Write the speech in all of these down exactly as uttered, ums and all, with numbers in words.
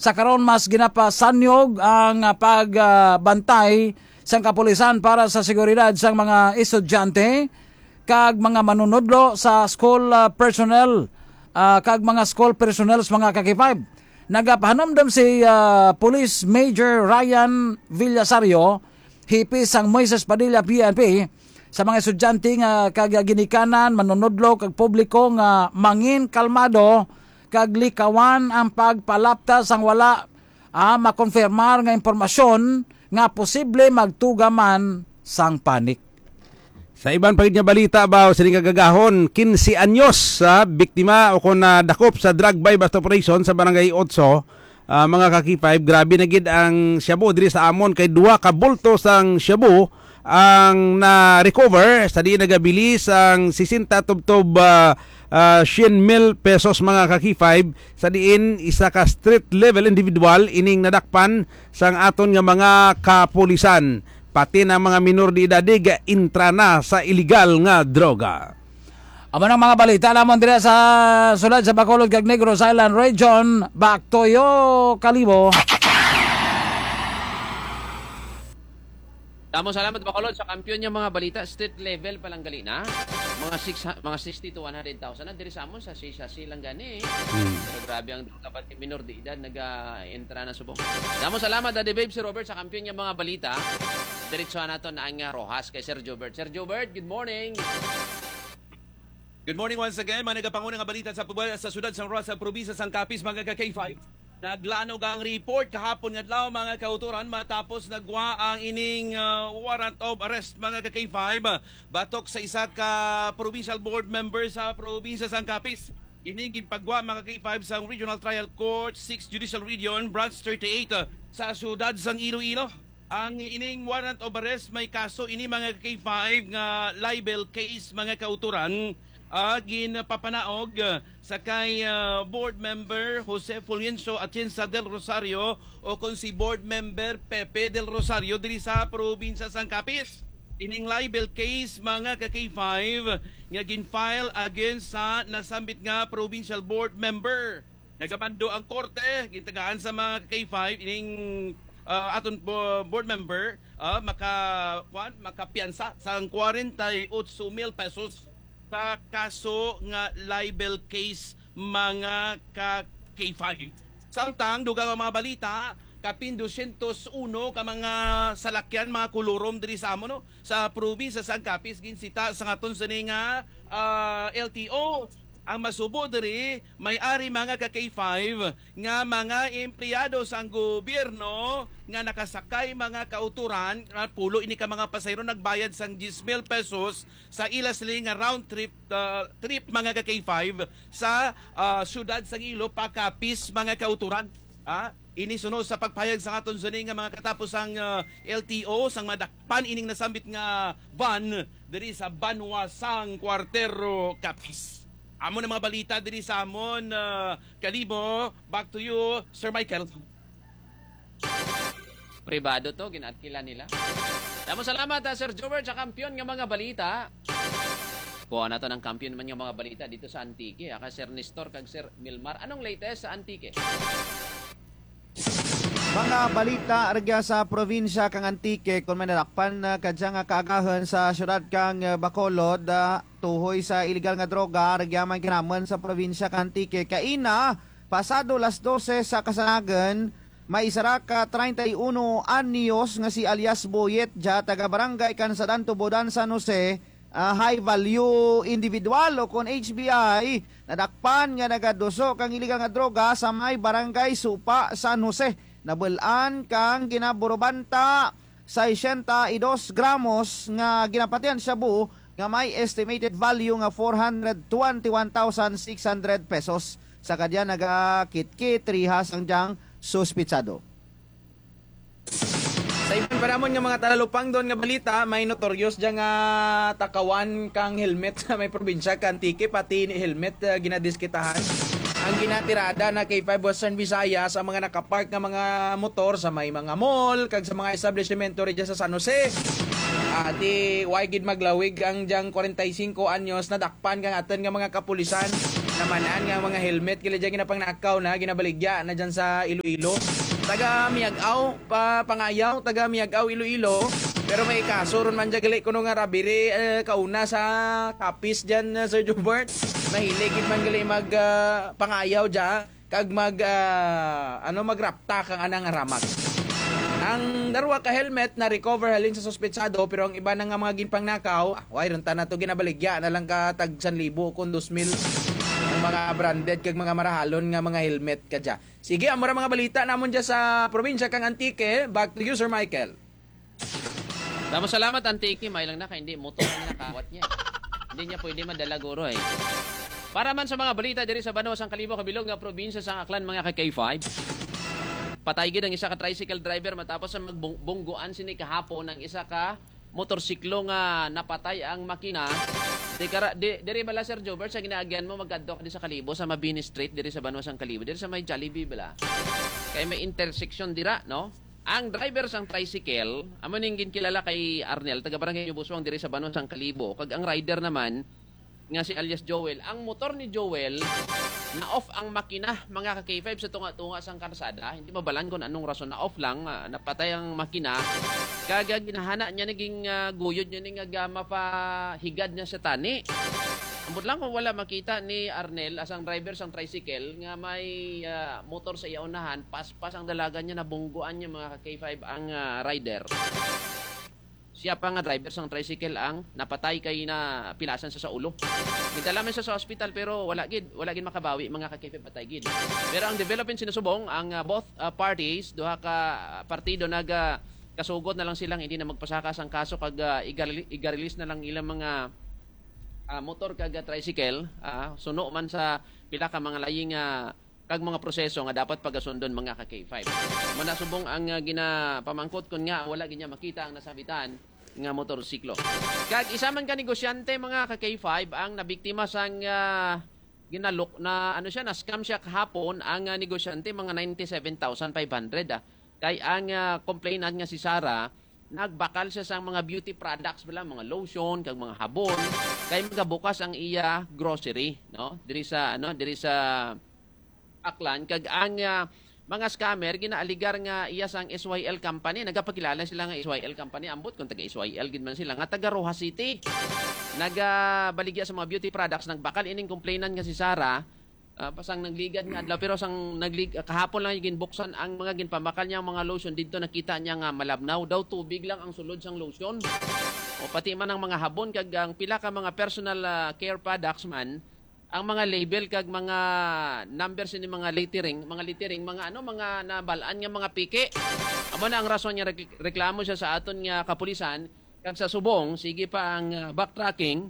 Sa karon, mas ginapasanyog ang, ah, pagbantay sang kapulisan para sa seguridad sang mga estudyante kag mga manunudlo sa school, ah, personnel, ah, kag mga school personnel sa mga ka-K five. Nagapahanumdom si, ah, Police Major Ryan Villasario, hipi sang Moises Padilla P N P, sa mga estudyante nga kag ginikanan, manunudlo kag publiko nga mangin kalmado kag likawan ang pagpalapta sang wala, ah, makonfirmar nga impormasyon nga posible magtuga man sang panic. Sa iban pa gid nga balita, ba, sini nga gagahon, quince anyos sa biktima o kon nadakop sa drug buy-bust operation sa Barangay Otso, ah, mga ka-K five, grabe na gid ang shabu diri sa amon kay duha ka bulto sang shabu ang na-recover sa diin nagabili sang sesenta tubtob, ah, ah, siyam mil pesos, mga ka-K five, sa diin isa ka street level individual ining nadakpan sang aton nga mga kapulisan. Pati na mga minor de edad ga-intra na sa iligal nga droga. Amo nang mga balita namon dira sa sulod sa Bacolod kag Negros Island Region. Back to you, Kalibo. Damo salamat, Bacolod, sa kampiyon nga mga balita. Street level pa lang gali na. Mga six, mga sixty to one hundred thousand na diri sa amon sa sisa silang gani. Hmm. Pero grabe ang droga, pati minor de edad naga-entra na subong. Damo salamat, Daddy Babe, si Robert, sa kampiyon nga mga balita. Diretso nato na ang, ah, Rojas kay Sir Jobert. Sir Jobert, good morning. Good morning once again, mga nagapanguna nga balita sa pubal sa siyudad sang Roxas, probinsya sang Capiz, mga ka-K five. Naglanog ang report kahapon nga adlaw, mga kautoran, matapos nagwa ang ining, ah, warrant of arrest, mga ka-K five, batok sa isa ka provincial board member sa probinsya sang Capiz. Ini ginpagwa, mga ka-K five, sang Regional Trial Court, Sixth Judicial Region, Branch thirty-eight, ah, sa siyudad sang Iloilo. Ang ining warrant of arrest may kaso ini, mga ka-K five, nga libel case, mga kautoran, ah, ginpapanaog, ah, sa kay, ah, board member Jose Fulgencio Atienza del Rosario o kon si board member Pepe del Rosario diri sa probinsya sang Capiz. Ining libel case, mga ka-K five, nga gin-file against sa nasambit nga provincial board member. Nagamando ang korte, gintagaan sa mga K five ining, ah, aton bo-, board member, ah, maka, kuwan, makapiyansa sang forty-eight mil pesos sa kaso nga libel case, mga ka K five. Samtang, dugang ang mga balita, kapin dosyentos uno ka mga salakyan, mga kulurom diri sa amo, no? Sa probinsya sang Capiz, ginsita sa aton sini nga, ah, L T O. Ang masubo diri, may ari, mga ka K five, nga mga empleyado sang gobyerno nga nakasakay, mga kautoran, nga pulo ini ka mga pasahero nagbayad sang diyes mil pesos sa ila sila nga round trip, ah, trip, mga ka K five, sa, ah, siyudad sang Iloilo pa Capiz, mga kautoran. Ah, ini suno sa pagpahayag sang aton sini nga mga katapos ang, ah, L T O sang madakpan ining nasambit nga van diri sa banwa sang Cuartero, Capiz. Amo na mga balita diri sa amon, ah, Kalibo. Back to you, Sir Michael. Pribado to, ginatkilan nila. Damo salamat, ah, Sir Jobert, sa kampiyon nga mga balita. Kuha nato ng kampiyon man nga mga balita dito sa Antique, ah, kay Sir Nestor kag Sir Milmar. Anong latest sa Antique? Mga balita rugya sa probinsya kang Antique, kung may nadakpan, ah, kadya nga kaagahan sa syudad kang, ah, Bacolod, ah, tuhoy sa iligal nga droga, rugya man kinamon sa probinsya kang Antique. Kaina, pasado las dose sa kasanagan, may isa ra ka treinta y uno anyos nga si alias Boyet, dya taga Barangay Kansadan, Tubodan, San Jose, ah, high value individual o kon H B I, nadakpan nga nagaduso kang iligal nga droga sa may Barangay Supa, San Jose. Nabul-an kang ginaburubanta sesenta y dos gramos nga ginapatihan shabu nga may estimated value nga four hundred twenty-one thousand six hundred pesos. Sa kadya nagakitkit rihas ang dyang suspitsado. Sa iban pa namon nga mga talalupangdon nga balita, may notorious dya nga takawan kang helmet sa may probinsya ka Antique, pati ni helmet, ah, ginadiskitahan. Ang ginatirada na kay Five Western Visayas ang mga nakapark nga mga motor sa may mga mall kag sa mga establishmento rin dyan sa San Jose. Ah, di, way gid maglawig ang dyang forty-five anyos na dakpan kang aton nga mga kapulisan. Naman-an nga mga helmet gali dyan ginapangnakaw na, ginabaligya na dyan sa Iloilo. Taga Miag-aw, pa, Pangayaw, taga Miag-aw, Iloilo. Pero may kaso ron man dyan gali kuno nga robbery, eh, kauna sa Capiz dyan, eh, Sir Jobert. Mahilig gid man gali mag, ah, pangayaw dyan. Kag mag, ah, ano, magrapta kang anang aramak. Ang darwa ka helmet na-recover halin sa suspetsado, pero ang iba na nga mga ginpangnakaw, ah, way, ron ta na to ginabaligya na lang ka tag san libo kung dos mil ang mga branded kag mga marahalon nga mga helmet ka dya. Sige, amo ra mga balita namon dya sa probinsya kang Antique. Back to you, Sir Michael. Damo salamat, Antique. May lang na kay hindi motor ang nakawat niya. Hindi niya pwede madala, guro, eh. Para man sa mga balita diri sa banwa sang Kalibo, kabilog nga probinsya sang Aklan, mga ka K five. Patay gid ang isa ka tricycle driver matapos sa magbung-, bungguan sini kahapon ang isa ka motorsiklo nga napatay ang makina. Di kara-, di, diri bala, Sir Jobert, sa ginaagyan mo, magkadto ka di sa Kalibo, sa Mabini Street, diri sa banwa sang Kalibo, diri sa may Jollibee bala. Kay may intersection dira, no? Ang driver sang tricycle, amo ning ginkilala kay Arnel, taga Barangay New Busuang diri sa banwa sang Kalibo, kag ang rider naman nga si alias Joel. Ang motor ni Joel, na-off ang makina, mga ka K five, sa tunga-tunga sang karsada. Hindi mabalan kung anong rason, na-off lang, ah, napatay ang makina. Kag, ah, ginahana niya, naging, ah, guyod niya ni nga ga-, mapahigad niya sa tani. Ambot lang kung wala makita ni Arnel, asang driver sang tricycle, nga may, ah, motor sa iya unahan, paspas ang dalagan niya, nabungguan niya, mga ka K five, ang, ah, rider. Siya pa nga driver sang tricycle ang napatay kay napilasan sa, sa ulo. Gidala man siya sa ospital pero wala gid, wala gid makabawi, mga ka K five, patay gid. Pero ang development sinusubong ang, ah, both, ah, parties, duha ka, ah, partido nag, ah, kasugot na lang silang hindi na magpasaka sang kaso kag, ah, igareli-, igarelease na lang ilang mga, ah, motor kag, ah, tricycle, ah, suno man sa pila ka mga layi nga kag mga proseso nga dapat pagasundon, mga ka K five. Manasubong ang, ah, ginapamangkot kon ngaa wala gid niya makita ang nasabitan nga motorsiklo. Kag isa man ka negosyante, mga ka K five, ang nabiktima sang, ah, ginalok na, ano siya, na-scam siya kahapon. Ang, ah, negosyante, mga ninety-seven thousand five hundred, ah. Kay ang, ah, complainant nga si Sarah, nagbakal siya sang mga beauty products bala, mga lotion kag mga habon, kay magabukas ang iya grocery, no? Diri sa, ano, diri sa Aklan, kag ang, ah, mga scammer ginaaligar nga iya sang S Y L company. Nagapakilala sila nga S Y L company, ambot kung taga S Y L gid man sila, nga taga Roxas City. Nagabaligya sa mga beauty products, nagbakal ining complainant nga si Sarah, ah, pasang nagligad nga adlaw, pero sang naglig-, kahapon lang ginbuksan ang mga ginpabakal niya, ang mga lotion. Didto nakita niya nga malabnaw daw, tubig lang ang sulod sang lotion. O pati man ang mga habon kag ang pila ka mga personal, ah, care products man, ang mga label kag mga numbers ni mga lettering, mga lettering, mga ano, mga nabal-an nga mga peke. Amo na ang rason nga rek-, reklamo siya sa aton nga kapulisan, kag sa subong, sige pa ang, ah, backtracking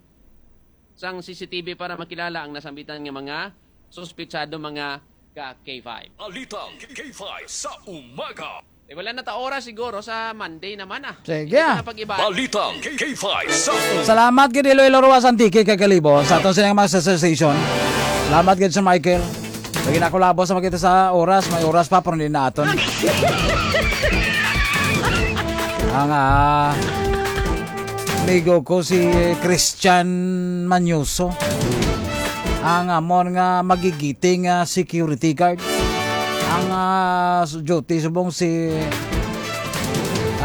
sang C C T V para makilala ang nasambitan nga mga suspitsado, mga ka K five. Balitang K five sa umaga. Eh, wala na ta oras siguro sa Monday naman, ah. Sige. Hindi na pag-iba. Balitang K five sa umaga. Salamat gid, Iloilo, Roxas, Antique, kag Kalibo, sa aton sining mga association. Salamat gid, Sir Michael. Lagi na ako labo sa makita sa oras. May oras pa, pero hindi na aton. Ang, ah, amigo ko si Christian Manyoso. Ang amon nga magigiting, ah, security guard. Ang, ah, su-, duty subong si,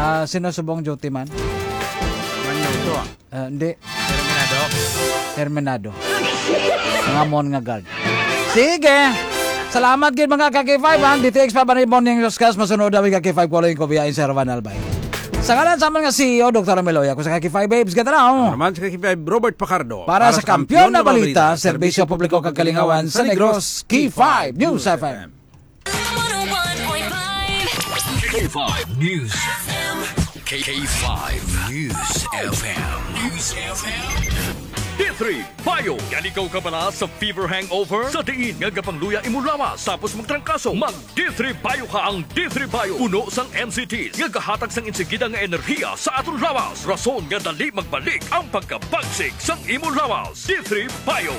ah, sino subong duty man? Manyoso, ah. Ah, hindi. Terminado. Terminado. Ang amon nga guard. Sige. Salamat gid, mga ka K five, ha. D T X pa ba ni Bonnie ang Yoskas? Masunod ang mga ka K five, following ko via Sir Van Albay. Sa ngalan sa amon nga C E O, Doktor Meloy, ako sa ka K five Babes Gatanaw. Ako naman sa ka K five, Robert Fajardo. Para sa Kampiyon na Balita, Serbisyo Publiko kag Kalingawan sa Negros, K five News F M. K five News. K five News F M. News F M. D three Bio. Gani ka kabala sa fever hangover? Sa diin nga gapangluya imo lawas tapos magtrangkaso, mag D three Bio ka. Ang D three Bio puno sang M C Ts nga gahatag sang insigida nga enerhiya sa aton lawas, rason nga dali magbalik ang pagkabagsik sang imo lawas. D three Bio.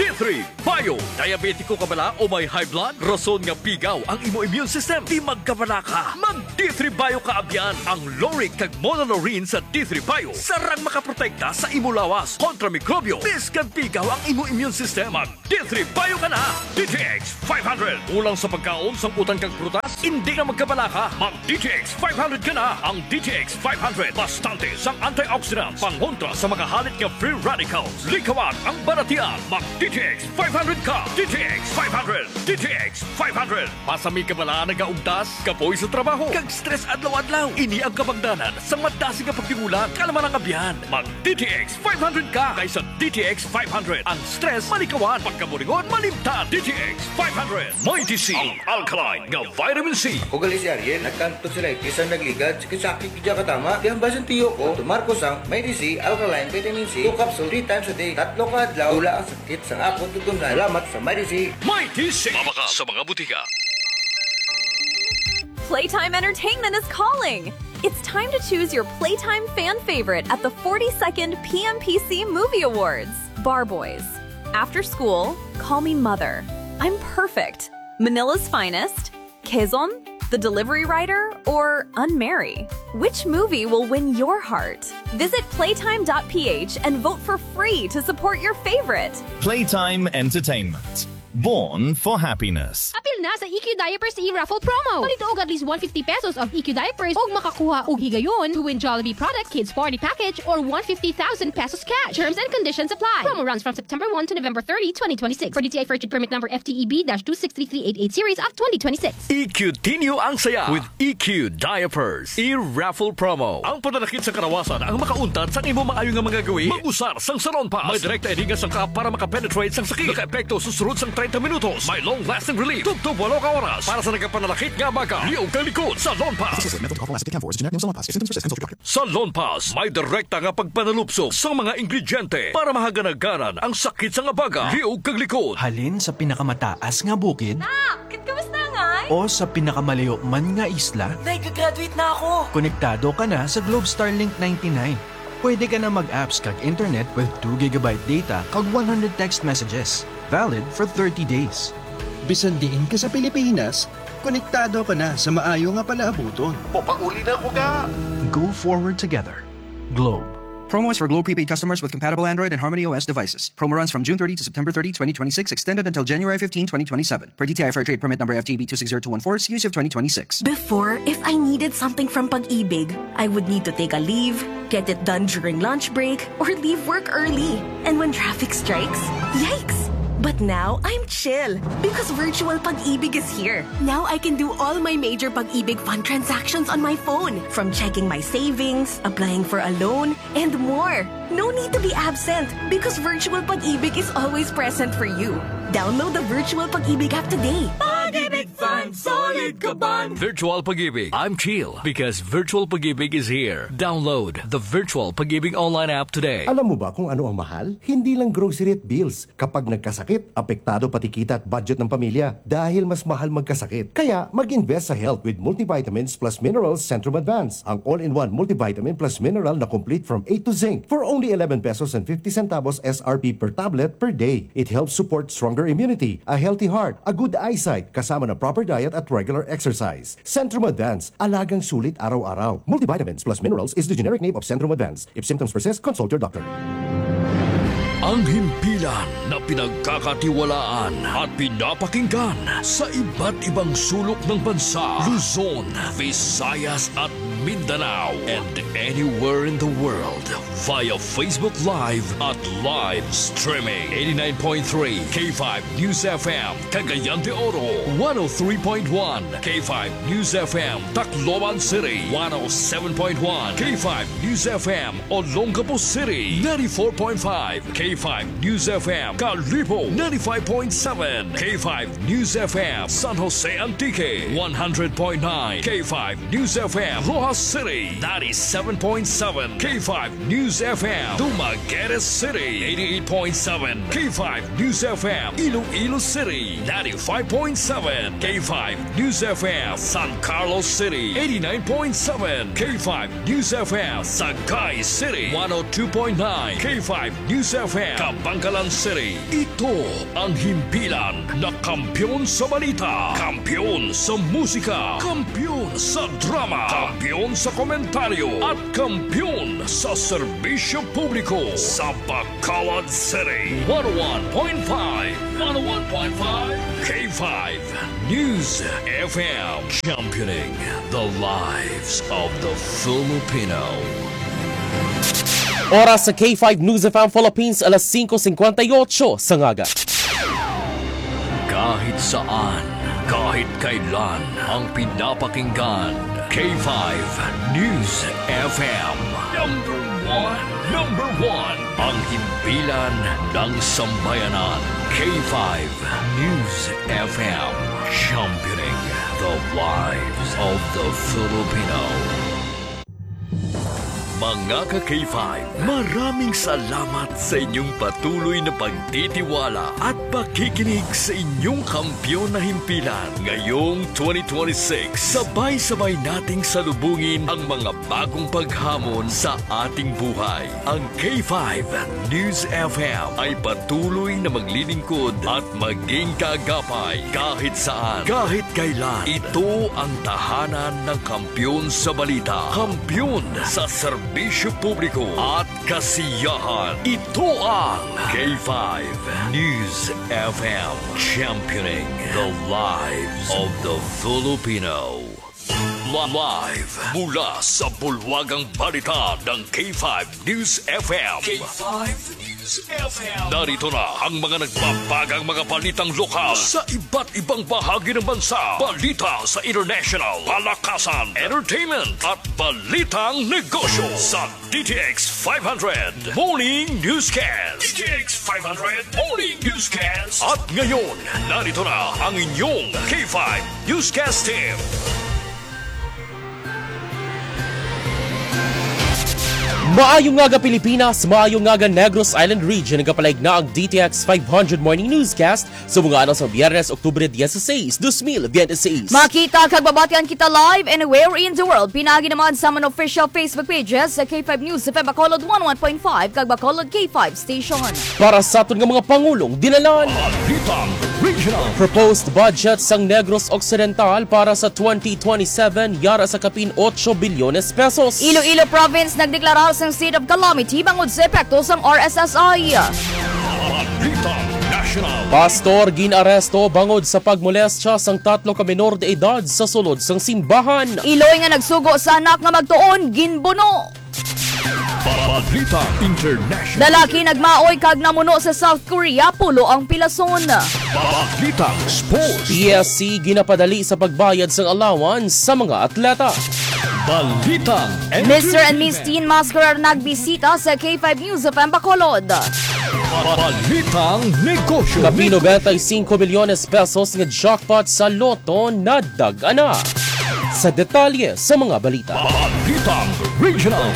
D three Bio. Diabetiko ka bala o may high blood? Rason nga pigaw ang imo immune system. Di magkabala ka. Mag D three Bio ka abyan. Ang lauric kag monolaurin sa D three Bio sarang makaprotekta sa imo lawas kontra mikrobyo. Biskang pigaw ang imo immune system, mag D three Bio ka na. D T X five hundred. Kulang sa pagkaon, sangkutan kag prutas? Hindi na magkabala ka. Mag D T X five hundred ka na. Ang D T X five hundred, bastante sang antioxidants, pangontra sa mga halit nga free radicals. Likawan ang balatian. Mag D T X five hundred ka. D T X five hundred. D T X five hundred. Pasami ka bala nagaugtas, kapoy sa trabaho, kag stress adlaw-adlaw? Ini ang kabangdanan sang madasig nga pagtingulang. Kalma lang, abyan. Mag D T X five hundred ka. Kay sa D T X five hundred, ang stress malikawan, pagkaburingon malimtan. D T X five hundred. Mighty C, ang alkaline nga vitamin C. Ako gali si Ariel, nagkanto si Righty sa nagligad, sakit-sakit gid ka tama. Kaya ang basin tiyo ko, tumar ko sang Mighty C, alkaline vitamin C, two capsule, three times a day, tatlo ka adlaw, wala ang sakit sang akon tutunlan. Salamat sa Mighty C. Mighty C. Mabakal sa mga butika. Playtime Entertainment is calling! It's time to choose your Playtime fan favorite at the forty-second P M P C Movie Awards. Bar Boys. After school, call me mother. I'm perfect. Manila's Finest, Quezon, The Delivery Rider, or Unmarry. Which movie will win your heart? Visit playtime dot p h and vote for free to support your favorite. Playtime Entertainment. Born for happiness. Apil na sa E Q Diapers e-raffle promo. Palituog at least one fifty pesos of E Q diapers ug makakuha og higayon to win Jollibee product, kids party package, or one fifty thousand pesos cash. Terms and conditions apply. Promo runs from September one to November thirty, twenty twenty-six. For D T I Fair Trade Permit number F T E B dash two six three three eight eight series of twenty twenty-six. E Q tinyo ang saya with E Q Diapers e-raffle promo. Ang pananakit sa karawasan ang makauntat sang imo maayo nga mga gawi. Mag-usar sang Salon Pass. May direkta ini nga sangkap para makapenetrate sang sakit. Nakaepekto sa sulod sang treinta minutos. May long-lasting relief. Tubtob walo ka oras. Para sa nagapananakit nga abaga, liog kag likod. Salon Pass. This is a method to prophylactic camphor is a generic name of Salon Pass. If symptoms persist, consult your doctor. Salon Pass, may direkta nga pagpanalupsok sa mga ingrediente para mahaganaganan ang sakit sang abaga, liog kag likod. Halin sa pinakamataas nga bukid Nak, kamusta ngay? O sa pinakamalayo man nga isla, Day, gagraduate na ako! Konektado ka na sa Globe Starlink ninety-nine. Pwede ka na mag-apps kag internet with two gigabyte data kag one hundred text messages, valid for thirty days. Bisan diin ka sa Pilipinas, konektado ka na sa maayo nga palaabuton. Mopauli na ko ga! Go forward together. Globe. Promo is for Globe prepaid customers with compatible Android and Harmony O S devices. Promo runs from June thirty to September thirty, twenty twenty-six, extended until January fifteenth, twenty twenty-seven. Per D T I Fair Trade Permit Number F T B two six zero two one four, C U C of twenty twenty-six. Before, if I needed something from Pag-ibig, I would need to take a leave, get it done during lunch break, or leave work early. And when traffic strikes, yikes! But now, I'm chill because Virtual Pag-ibig is here. Now I can do all my major Pag-ibig Fund transactions on my phone, from checking my savings, applying for a loan, and more. No need to be absent because Virtual Pag-ibig is always present for you. Download the Virtual Pag-ibig app today. Pag-ibig Fund, solid kaban! Virtual Pag-ibig. I'm chill because Virtual Pag-ibig is here. Download the Virtual Pag-ibig online app today. Alam mo ba kung ano ang mahal? Hindi lang grocery at bills. Kapag nagkasakit, apektado pati kita at budget ng pamilya dahil mas mahal magkasakit. Kaya mag-invest sa health with multivitamins plus minerals Centrum Advance. Ang all-in-one multivitamin plus mineral na complete from A to zinc for only eleven pesos and fifty centavos S R P per tablet per day. It helps support stronger immunity, a healthy heart, a good eyesight, kasama ng proper diet at regular exercise. Centrum Advance, alagang sulit araw-araw. Multivitamins plus minerals is the generic name of Centrum Advance. If symptoms persist, consult your doctor. Ang himpilan na pinagkakatiwalaan at pinapakinggan sa iba't ibang sulok ng bansa, Luzon, Visayas at Mindanao, and anywhere in the world via Facebook Live at live streaming. Eighty-nine point three K five News F M, Cagayan de Oro, one oh three point one K five News F M, Tacloban City, one oh seven point one K five News F M, Olongapo City, ninety-four point five K five News F M, Kalibo, ninety-five point seven K five News F M, San Jose Antique, one hundred point nine K five News F M, Loja City, ninety-seven point seven K five News F M, Dumaguete City, eighty-eight point seven K five News F M, Iloilo City, ninety-five point seven K five News F M, San Carlos City, eighty-nine point seven K five News F M, Sagay City, one oh two point nine K five News F M, Kabankalan City. Ito ang himpilan na kampiyon sa balita, kampiyon sa musika, kampiyon sa drama, kampiyon sa komentaryo, at kampiyon sa serbisyo publiko sa Bacolod City. One oh one point five, one oh one point five K five News F M, championing the lives of the Filipino. Oras sa K five News F M Philippines, alas singko singkwenta y ocho sa aga. Kahit saan, kahit kailan, ang pinapakinggan, K five News F M. Number one, number one, ang himpilan ng sambayanan, K five News F M, championing the lives of the Filipino. Mga ka-K five, maraming salamat sa inyong patuloy na pagtitiwala at pakikinig sa inyong kampiyon na himpilan. Ngayong twenty twenty-six, sabay-sabay nating salubungin ang mga bagong paghamon sa ating buhay. Ang K five News F M ay patuloy na maglilingkod at maging kaagapay kahit saan, kahit kailan. Ito ang tahanan ng kampiyon sa balita, kampiyon sa serbisyo publiko at kasiyahan. Ito ang K five News F M, championing the lives of the Filipino. Live mula sa bulwagang balita ng K five News F M. K five News F M. Narito na ang mga nagbabagang mga balitang lokal sa iba't ibang bahagi ng bansa. Balita sa international, palakasan, entertainment, at balitang negosyo sa D T X five hundred Morning Newscast. D T X five hundred Morning Newscast. At ngayon, narito na ang inyong K five Newscast Team. Maayong aga, Pilipinas, maayong aga, Negros Island Region. Nagapalig na ang D T X five hundred Morning Newscast sa mga adlaw sa Biyernes, Oktubre dieciséis, dos mil veintiséis. Makita kag mabatian kita live anywhere in the world. Pinaagi naman sa mga official Facebook pages sa K five News F M Bacolod one oh one point five kag Bacolod K five Station. Para sa aton nga mga pangulong dinalan. Balitang Regional. Proposed budget sang Negros Occidental para sa twenty twenty-seven yara sa kapin ocho bilyones pesos. Iloilo Province nagdeklarar sang state of calamity bangod sa epekto sang R S S I. Balitang National. Pastor gin-aresto bangod sa pagmolestya sang tatlo ka menor de edad sa sulod sang simbahan. Iloy nga nagsugo sa anak nga magtuon, ginbuno. Balitang International. Lalaki nagmaoy kag namuno sa South Korea, pulo ang pilason. Balitang Sports. P S C ginapadali sa pagbayad sang allowance sa mga atleta. Balitang Mister and Miss Entertainment. Teen Mascara nagbisita sa K five News F M Bacolod. Balitang Negosyo. Kapin nobenta y cinco milyones pesos nga jackpot sa Lotto nadag-a na. Sa detalye sa mga balita. Balitang Regional.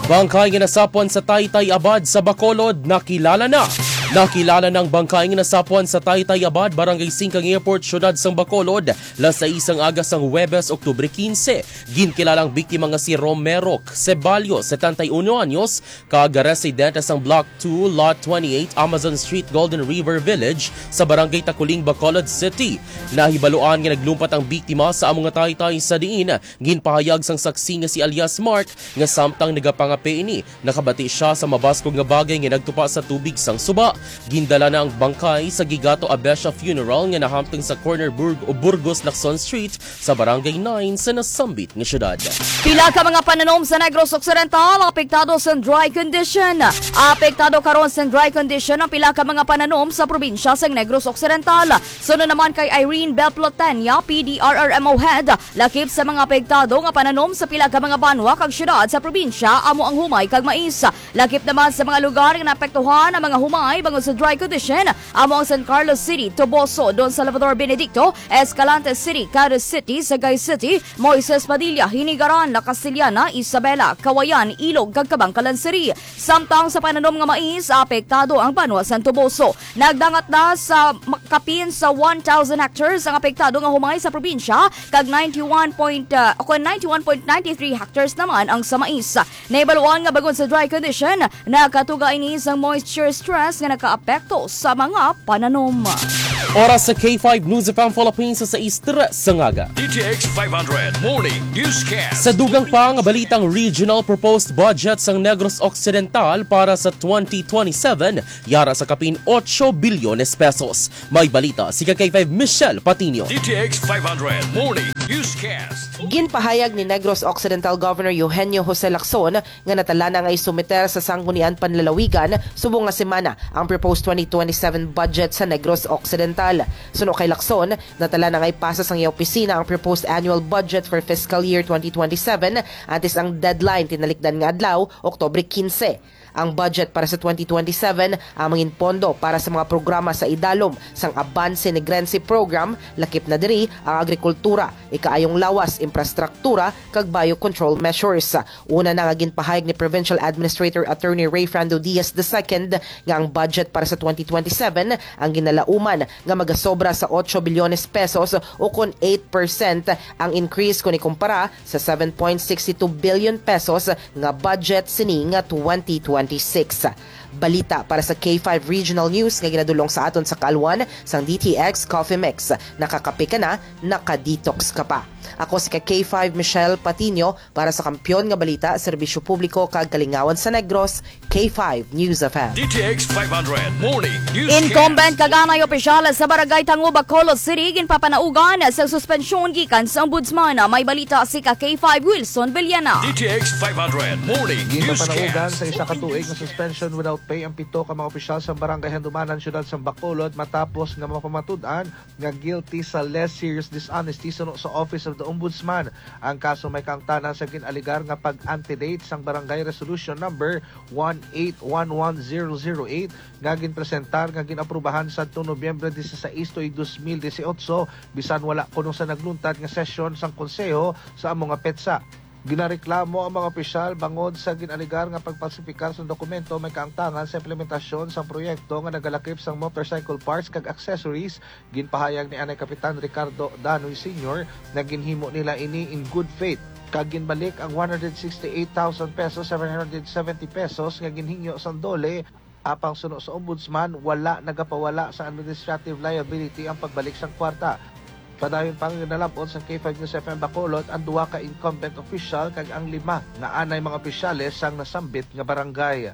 Bangkay nga nasapwan sa Taytay-Abad sa Bacolod, nakilala na. Nakilala na ang bangkay nga nasapwan sa Taytay-Abad, Barangay Singkang Airport, Siyudad sang Bacolod, las sais sang aga sang Huwebes, Oktubre quince. Ginkilala ang biktima nga si Romero Ceballos, setenta y uno anyos, kag residente sang Block two, Lot twenty-eight, Amazon Street, Golden River Village, sa Barangay Taculing, Bacolod City. Nahibaluan nga naglumpat ang biktima sa amo nga taytay, sa diin ginpahayag sang saksi nga si alias Mark nga samtang nagapangape ini, nakabati sia sa mabaskog nga bagay nga nagtupa sa tubig sang suba. Gindala na ang bangkay sa Gigato Abesha Funeral nga nahamtang sa corner Burg-, Burgos, Lacson Street, sa Barangay nine sa nasambit nga syudad. Pila ka mga pananom sa Negros Occidental apektado sa dry condition. Apektado karon sa dry condition ang pila ka mga pananom sa probinsya sa Negros Occidental. Suno naman kay Irene Belplotenia, P D R R M O Head, lakip sa mga apektado nga pananom sa pila ka mga banwa kag syudad sa probinsya amo ang humay kag mais. Lakip naman sa mga lugar nga naapektuhan ang mga humay, Bangod sa dry condition, amo ang San Carlos City, Toboso, Don Salvador Benedicto, Escalante City, Caduce City, Sagay City, Moises Padilla, Hinigaran, La Castellana, Isabela, Kawayan, Ilog, kag Kabankalan City. Samtang sa pananom nga mais, apektado ang banwa sang Toboso. Nagdangat na sa ma-, kapin sa one thousand hectares ang apektado nga humay sa probinsya, kag ninety-one point, ah, o kon ninety-one point nine three hectares naman ang sa mais. Nahibaluan nga bangod sa dry condition, nakatuga ini sang moisture stress nga nakaapekto sa mga pananom. Oras sa K five News F M Philippines sa sais tres sa aga. D T X five hundred Morning Newscast. Sa dugang pa nga balitang regional proposed budget sang Negros Occidental para sa twenty twenty-seven, yara sa kapin ocho bilyones pesos. May balita si ka K five Michelle Patino. D T X five hundred Morning Newscast. Ginpahayag ni Negros Occidental Governor Eugenio Jose Lacson nga natala na nga isumiter sa Sangguniang Panlalawigan subong nga semana ang proposed twenty twenty-seven budget sa Negros Occidental. Suno kay Lacson, natala na nga ipasa sang iya opisina ang proposed annual budget for fiscal year twenty twenty-seven, antes ang deadline tinalikdan nga adlaw, Oktubre quince. Ang budget para sa twenty twenty-seven ang mangin pondo para sa mga programa sa idalom sang Abanse Negrense Program, lakip na diri ang agrikultura, ikaayong lawas, infrastruktura, kag biocontrol measures. Una na nga ginpahayag ni Provincial Administrator Attorney Rayfrando Diaz the second nga ang budget para sa twenty twenty-seven ang ginalauman nga magasobra sa ocho bilyones pesos, o kon eight percent ang increase kon ikumpara sa seven point six two billion pesos nga budget sini nga twenty twenty-six. Balita para sa K five Regional News nga ginadul-ong sa aton sa kaalwan sang D T X Coffee Mix. Nakakape ka na, naka-detox ka pa. Ako si ka K five Michelle Patino para sa Kampiyon nga Balita, Serbisyo Publiko kag Kalingawan sa Negros, K five News F M. D T X five hundred Morning News. Incumbent kag anay opisyal sa Barangay Tango, Bacolod City, ginpapanaugan sa suspensyon gikan sa Ombudsman. May balita si ka K five Wilson Villana. D T X five hundred Morning News. Ginpapanaugan sa isa ka tuig nga suspension without pay ang pito ka mga opisyal sa Barangay Handumanan, Siyudad sa Bacolod, matapos nga mapamatud-an nga guilty sa less serious dishonesty suno sa Office of the Ombudsman. Ang kaso may kaangtanan sa gin-alegar nga pag-antedate sang Barangay Resolution Number one eight one one zero zero eight nga ginpresentar nga gin-aprubahan sadto Nobyembre dieciséis tuig dos mil dieciocho, bisan wala kuno sa nagluntad nga sesyon sang Konseho sa amo nga petsa. Ginareklamo ang mga opisyal bangod sa gin-alegar nga pagpalsipikar sang dokumento may kaangtangan sa implementasyon sang proyekto nga nagalakip sang motorcycle parts kag accessories. Ginpahayag ni anay Kapitan Ricardo Danoy Senior nga ginhimo nila ini in good faith, kag ginbalik ang one hundred sixty-eight thousand pesos, seven hundred seventy pesos nga ginhingyo sang DOLE, apang suno sa Ombudsman, wala nagapawala sa administrative liability ang pagbalik sang kwarta. Padayon pa nga ginalab-ot sang K five News F M Bacolod ang duha ka incumbent official kag ang lima nga anay mga opisyales sang nasambit nga barangay.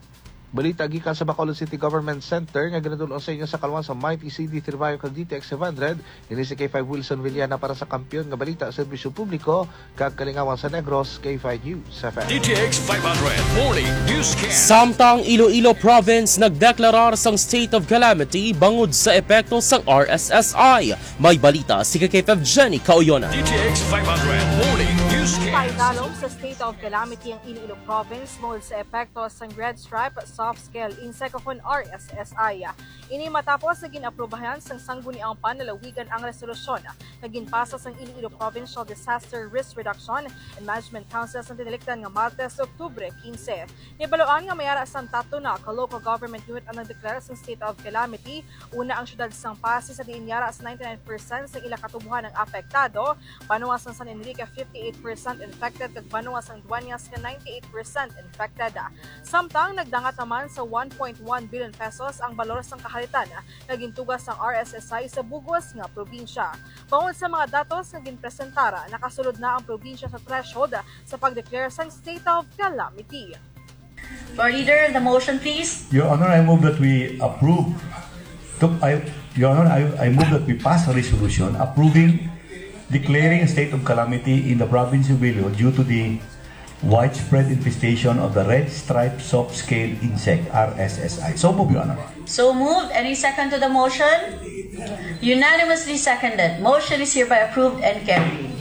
Balita gikan sa Bacolod City Government Center nga ginadul-ong sa inyo sa kalwan sa Mighty C D three Bayo kag D T X five hundred. Ini si K five Wilson Villana para sa Kampiyon nga Balita, Serbisyo Publiko kag Kalingawan sa Negros, K five News F M. D T X five hundred Morning Newscast. Samtang Iloilo Province nagdeklarar sang state of calamity bangod sa epekto sang R S S I. May balita si ka K five Jenny Kauyonan. D T X five hundred Morning Newscast. Paidalom sa state of calamity ang Iloilo Province bangod sa epekto sang Red Stripe Soft Scale Insect o kon R S S I. Ini matapos nga gin-aprubahan sang Sangguniang Panlalawigan ang resolusyon nga ginpasa sang Iloilo Provincial Disaster Risk Reduction and Management Council sa tinalikdan nga Martes, Oktubre quince. Nahibaluan nga may ara sang tatlo na ka local government unit ang nagdeklara sang state of calamity. Una ang siyudad sang Passi, sa diin yara sa ninety-nine percent sang ila katubohan ang apektado, banwa sang San Enrique fifty-eight percent infected, kag banwa sang Dueñas nga ninety-eight percent infected. Samtang nagdangat naman sa one point one billion pesos ang balor sang kaharitan nga gintuga sang R S S I sa bug-os nga probinsya. Bangod sa mga datos nga ginpresentar, nakasulod na ang probinsya sa threshold sa pag-declare sang state of calamity. Floor Leader, the motion, please. Your Honor, I move that we approve, to, I, Your Honor, I, I move that we pass a resolution approving declaring a state of calamity in the province of Iloilo due to the widespread infestation of the red stripe soft scale insect, R S S I. So move, Your Honor. So moved. Any second to the motion? Unanimously seconded. Motion is hereby approved and carried.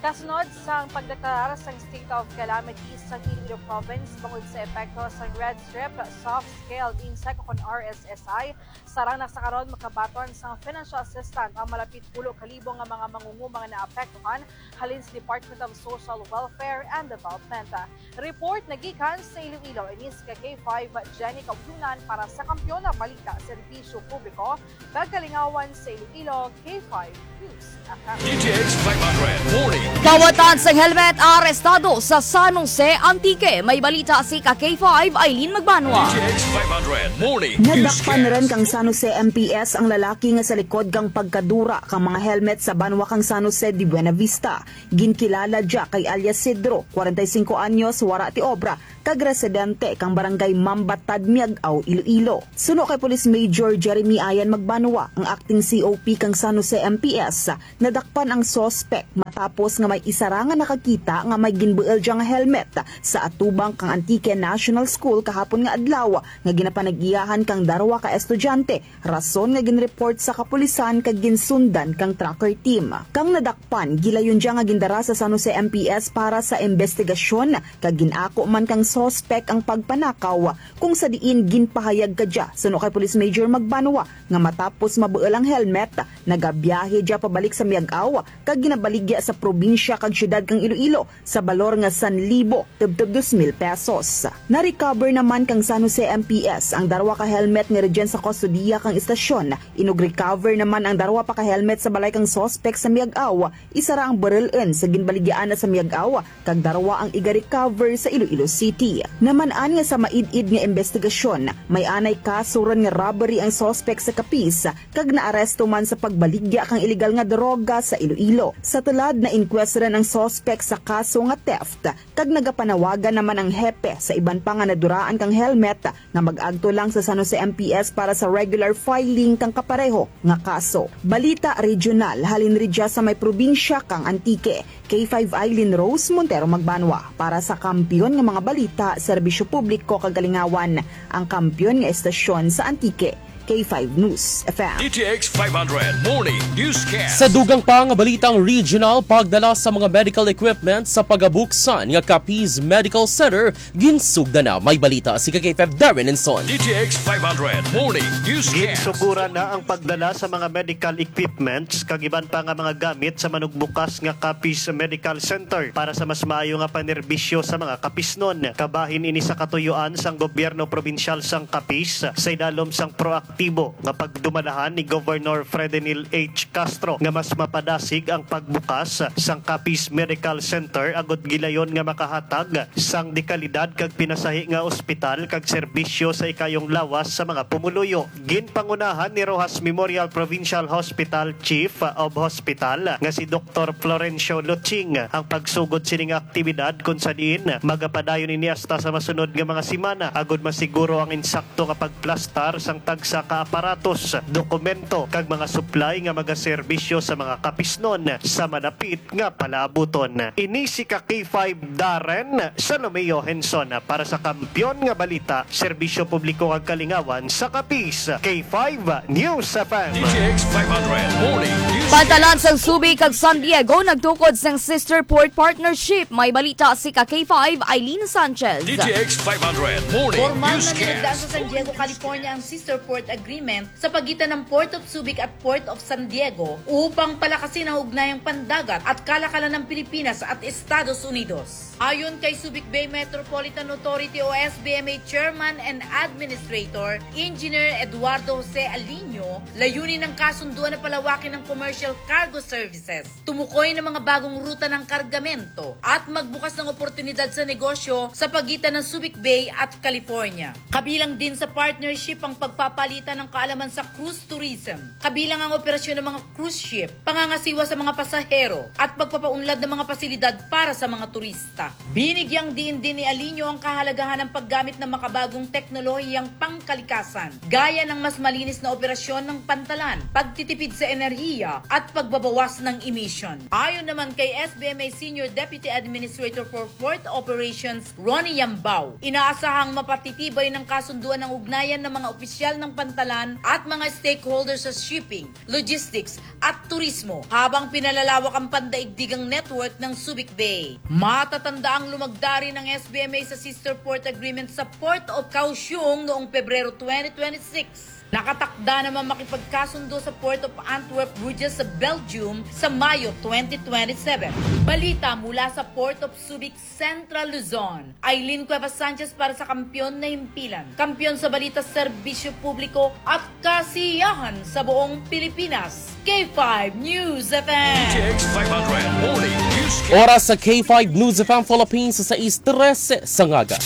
Kasunod sang pagdeklarar sang state of calamity sa Iloilo Province bangod sa epekto sang Red Strip Soft Scaled Insect o kon R S S I, sarang na sa karon makabaton sang financial assistance ang malapit pulo ka libo nga mga mangunguma nga naapektuhan halin sa Department of Social Welfare and Development. Report nagikan sa Iloilo, ini si ka K five Jenny Kaulunan para sa Kampiyon nga Balita, Serbisyo Publiko kag Kalingawan sa Iloilo, K five News F M. D T X five hundred Morning Kawatan Newscast. Sang helmet arestado sa San Jose, Antique. May balita si ka K five Eileen Magbanwa. D T X five hundred Morning Nadakpan Newscast. Rin kang San Jose M P S ang lalaki nga sa likod kang pagkadura kang mga helmet sa banwa kang San Jose de Buenavista. Ginkilala dya kay alias Sidro, kwarenta y singko anyos, wara ti obra, kag residente kang barangay Mambatad, Miag-ao, Iloilo. Suno kay Police Major Jeremy Ayan Magbanwa, ang acting C O P kang San Jose M P S, nadakpan ang suspek matapos nga may isa ra nga nakakita nga may ginbuul dya nga helmet sa atubang kang Antique National School kahapon nga adlaw nga ginapanag-iyahan kang darwa ka estudyante, rason nga ginreport sa kapulisan kag ginsundan kang tracker team. Kang nadakpan, gilayon dya nga gindara sa San Jose M P S para sa imbestigasyon, kag gin-ako man kang suspek ang pagpanakaw, kung sa diin ginpahayag kadya, suno kay Police Major Magbanwa, nga matapos mabuul ang helmet, nagabiyahe dya pabalik sa Miag-ao kag ginabaligya sa probinsya kag siyudad kang Iloilo sa balor nga san libo tubtob dos mil pesos. Na-recover naman kang San Jose M P S ang darwa ka helmet nga rugyan sa kustodiya kang istasyon. Inug-recover naman ang darwa pa ka helmet sa balay kang suspek sa Miag-ao, isa ra ang baril-un sa ginbaligyaan na sa Miag-ao, kag darwa ang iga-recover sa Iloilo City. Naman-an nga sa maid-id nga imbestigasyon, may anay kaso run nga robbery ang suspek sa Capiz, kag naaresto man sa pagbaligya kang iligal nga droga sa Iloilo. Sa tulad, na-inquest run ang suspek sa kaso nga theft, kag nagapanawagan naman ang hepe sa iban pa nga naduraan kang helmet nga mag-agto lang sa San Jose M P S para sa regular filing kang kapareho nga kaso. Balita regional, halin ridya sa may probinsya kang Antique. K five Eileen Rose Montero Magbanwa para sa Kampiyon nga mga Balita, Serbisyo Publiko kag Kalingawan, ang kampiyon nga estasyon sa Antique. K five News F M. D T X five hundred Morning Newscast. Sa dugang pa nga balitang regional, pagdala sa mga medical equipment sa pagabuksan nga Capiz Medical Center, ginsugda na. May balita si ka K five Darren Enson. D T X five hundred Morning Newscast. Ginsuguran na ang pagdala sa mga medical equipments kag iban pa nga mga gamit sa manugbukas nga Capiz Medical Center para sa mas maayo nga panerbisyo sa mga Capiznon. Kabahin ini sa katuyuan sang gobyerno probinsyal sang Capiz sa idalom sang proaktibo nga pagdumalahan ni Governor Fredenil H. Castro nga mas mapadasig ang pagbukas sang Capiz Medical Center agud gilayon nga makahatag sang dekalidad kag pinasahi nga ospital kag serbisyo sa ikayong lawas sa mga pumuluyo. Ginpangunahan ni Roxas Memorial Provincial Hospital Chief of Hospital nga si Doktor Florencio Luching ang pagsugod sining aktibidad, kun sa diin magapadayon ini hasta sa masunod nga mga semana agud masiguro ang insakto nga pagplastar sang tagsa ka aparatos, dokumento, kag mga supply nga magaserbisyo sa mga Capiznon sa malapit nga palaabuton. Ini si ka K five Darren Salomeo Henson para sa Kampiyon nga Balita, Serbisyo Publiko kag Kalingawan sa Capiz, K five News F M. D T X five hundred Morning News. Pantalan sang Subic kag San Diego nagtukod sang Sister Port Partnership. May balita si ka K five Eileen Sanchez. D T X five hundred Morning Formal na Newscast. Linugdan sa San Diego, California ang Sister Port Agreement sa pagitan ng Port of Subic at Port of San Diego upang palakasin ang ugnayang pandagat at kalakalan ng Pilipinas at Estados Unidos. Ayon kay Subic Bay Metropolitan Authority o S B M A Chairman and Administrator, Engineer Eduardo Jose Aliño, layunin ng kasunduan na palawakin ang commercial cargo services, tumukoy ng mga bagong ruta ng kargamento, at magbukas ng oportunidad sa negosyo sa pagitan ng Subic Bay at California. Kabilang din sa partnership ang pagpapalitan ng kaalaman sa cruise tourism, kabilang ang operasyon ng mga cruise ship, pangangasiwa sa mga pasahero, at pagpapaunlad ng mga pasilidad para sa mga turista. Binigyang diin din ni Aliño ang kahalagahan ng paggamit ng makabagong teknolohiyang pangkalikasan, gaya ng mas malinis na operasyon pantalan, pagtitipid sa enerhiya, at pagbabawas ng emission. Ayon naman kay S B M A Senior Deputy Administrator for Port Operations, Ronnie Yambao, inaasahang mapatitibay ng kasunduan ang ugnayan ng mga opisyal ng pantalan at mga stakeholders sa shipping, logistics, at turismo, habang pinalalawak ang pandaigdigang network ng Subic Bay. Matatanda ang lumagda rin ng S B M A sa Sister Port Agreement sa Port of Kaohsiung noong Pebrero twenty twenty-six. Nakatakda naman makipagkasundo sa Port of Antwerp, Bruges sa Belgium sa Mayo twenty twenty-seven. Balita mula sa Port of Subic, Central Luzon. Aileen Cuevas Sanchez para sa Kampiyon na Himpilan. Kampiyon sa balita, serbisyo publiko at kasiyahan sa buong Pilipinas. K five News F M. T X five hundred Morning Newscast. Oras sa K five News F M Philippines sa sais trese sa ngaga.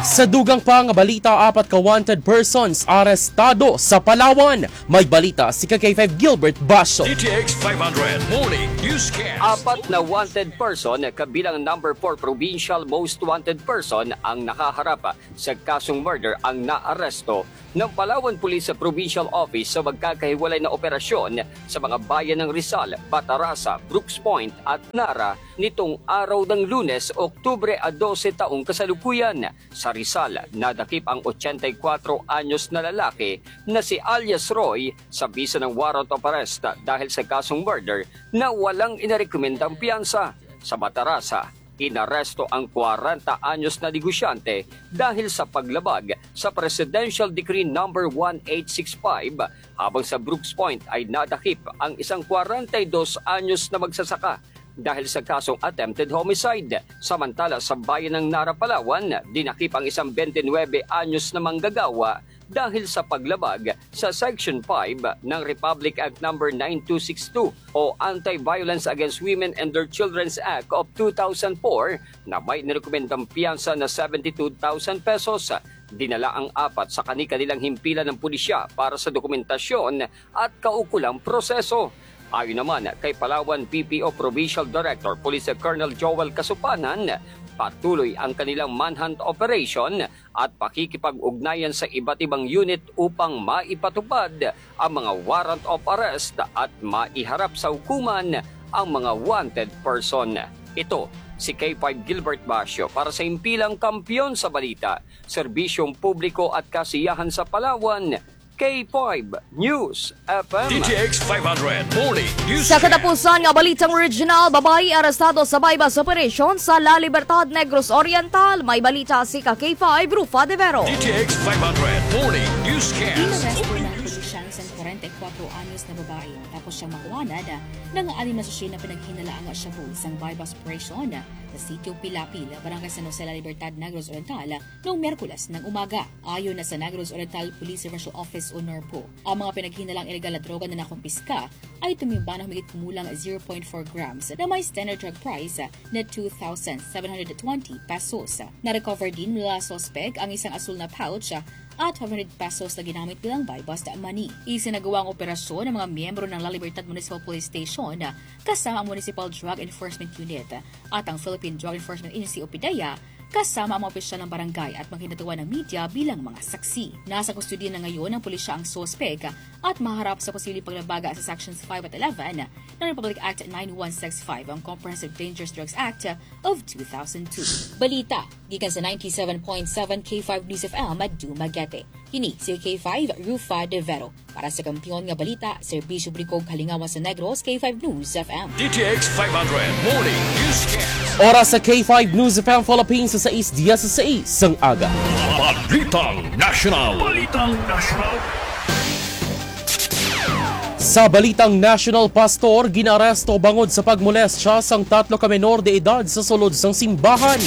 Sa dugang pa nga balita, apat ka wanted persons arestado sa Palawan. May balita si ka K five Gilbert Basho. D T X five hundred Morning Newscast. Apat na wanted person kabilang number four provincial most wanted person ang nakaharap sa kasong murder ang naaresto ng Palawan Police sa Provincial Office sa magkakahiwalay na operasyon sa mga bayan ng Rizal, Batarasa, Brooks Point at Nara nitong araw ng Lunes, Oktubre a dose taong kasalukuyan. Sa Rizal, nadakip ang ochenta y cuatro anyos na lalaki na si alias Roy sa bisa ng warrant of arrest dahil sa kasong murder na walang inarekomendang piyansa. Sa Batarasa, inaresto ang kwarenta anyos na negosyante dahil sa paglabag sa Presidential Decree number one eight six five, habang sa Brooks Point ay nadakip ang isang kwarenta y dos anyos na magsasaka dahil sa kasong attempted homicide. Samantala, sa bayan ng Nara, Palawan, dinakip ang isang twenty-nine anyos na manggagawa dahil sa paglabag sa Section five ng Republic Act number nine two six two o Anti-Violence Against Women and Their Children's Act of two thousand four, na may nirekomendang piyansa na seventy-two thousand pesos. Dinala ang apat sa kani-kanilang himpilan ng pulisya para sa dokumentasyon at kaukulang proseso. Ayon naman kay Palawan P P O Provincial Director Police Colonel Joel Kasupanan, patuloy ang kanilang manhunt operation at pakikipag-ugnayan sa iba't ibang unit upang maipatupad ang mga warrant of arrest at maiharap sa hukuman ang mga wanted person. Ito si K five Gilbert Basio para sa Himpilang Kampiyon sa Balita, Serbisyong Publiko at Kasiyahan sa Palawan, K five News F M. D T X five hundred Morning News. Sa katapusan nga balitang regional, babayi arestado sa buy-bust operation sa La Libertad, Negros Oriental. May balita si ka K five Rufa De Vero. D T X five hundred Morning Newscast. Inaresto ng pulisya ang isang kwarenta y kuwatro anyos na babae matapos siyang makuhanan ng anim na sachet na pinaghinalaang shabu sa buy-bust operation sa Sitio Pilapil, Barangay San Jose, La Libertad, Negros Oriental, noong Miyerkules ng umaga. Ayon na sa Negros Oriental Police Referral Office o NORPO, ang mga pinaghinalaang ilegal na droga na nakumpiska ay tumimba na humigit kumulang zero point four grams na may standard drug price na two thousand seven hundred twenty pesos. Na-recover din mula sa suspek ang isang asul na pouch at five hundred pesos na ginamit bilang buy-bust money. Isinagawa ang operasyon ng mga miyembro ng La Libertad Municipal Police Station kasama ang Municipal Drug Enforcement Unit at ang Philippine Drug Enforcement Agency o PDEA, kasama ang mga opisyal ng barangay at mga kinatuan ng media bilang mga saksi. Nasa kustodiya na ngayon ng pulisya ang suspek at maharap sa posibleng paglabaga sa Sections five at eleven ng Republic Act nine one six five, ang Comprehensive Dangerous Drugs Act of two thousand two. Balita gikan sa ninety-seven point seven K five News F M at Dumaguete. Kini si K five Rufa De Vero. Para sa Kampiyon nga Balita, Serbisyo Publiko ug Kalingawan sa Negros, K five News F M. D T X five hundred Morning Newscast. Oras sa K five News F M Philippines sa sais dieciséis sang aga. Balitang National. Balitang National. Sa balitang national, pastor ginaresto bangod sa pagmolestya sang tatlo ka menor de edad sa sulod sang simbahan.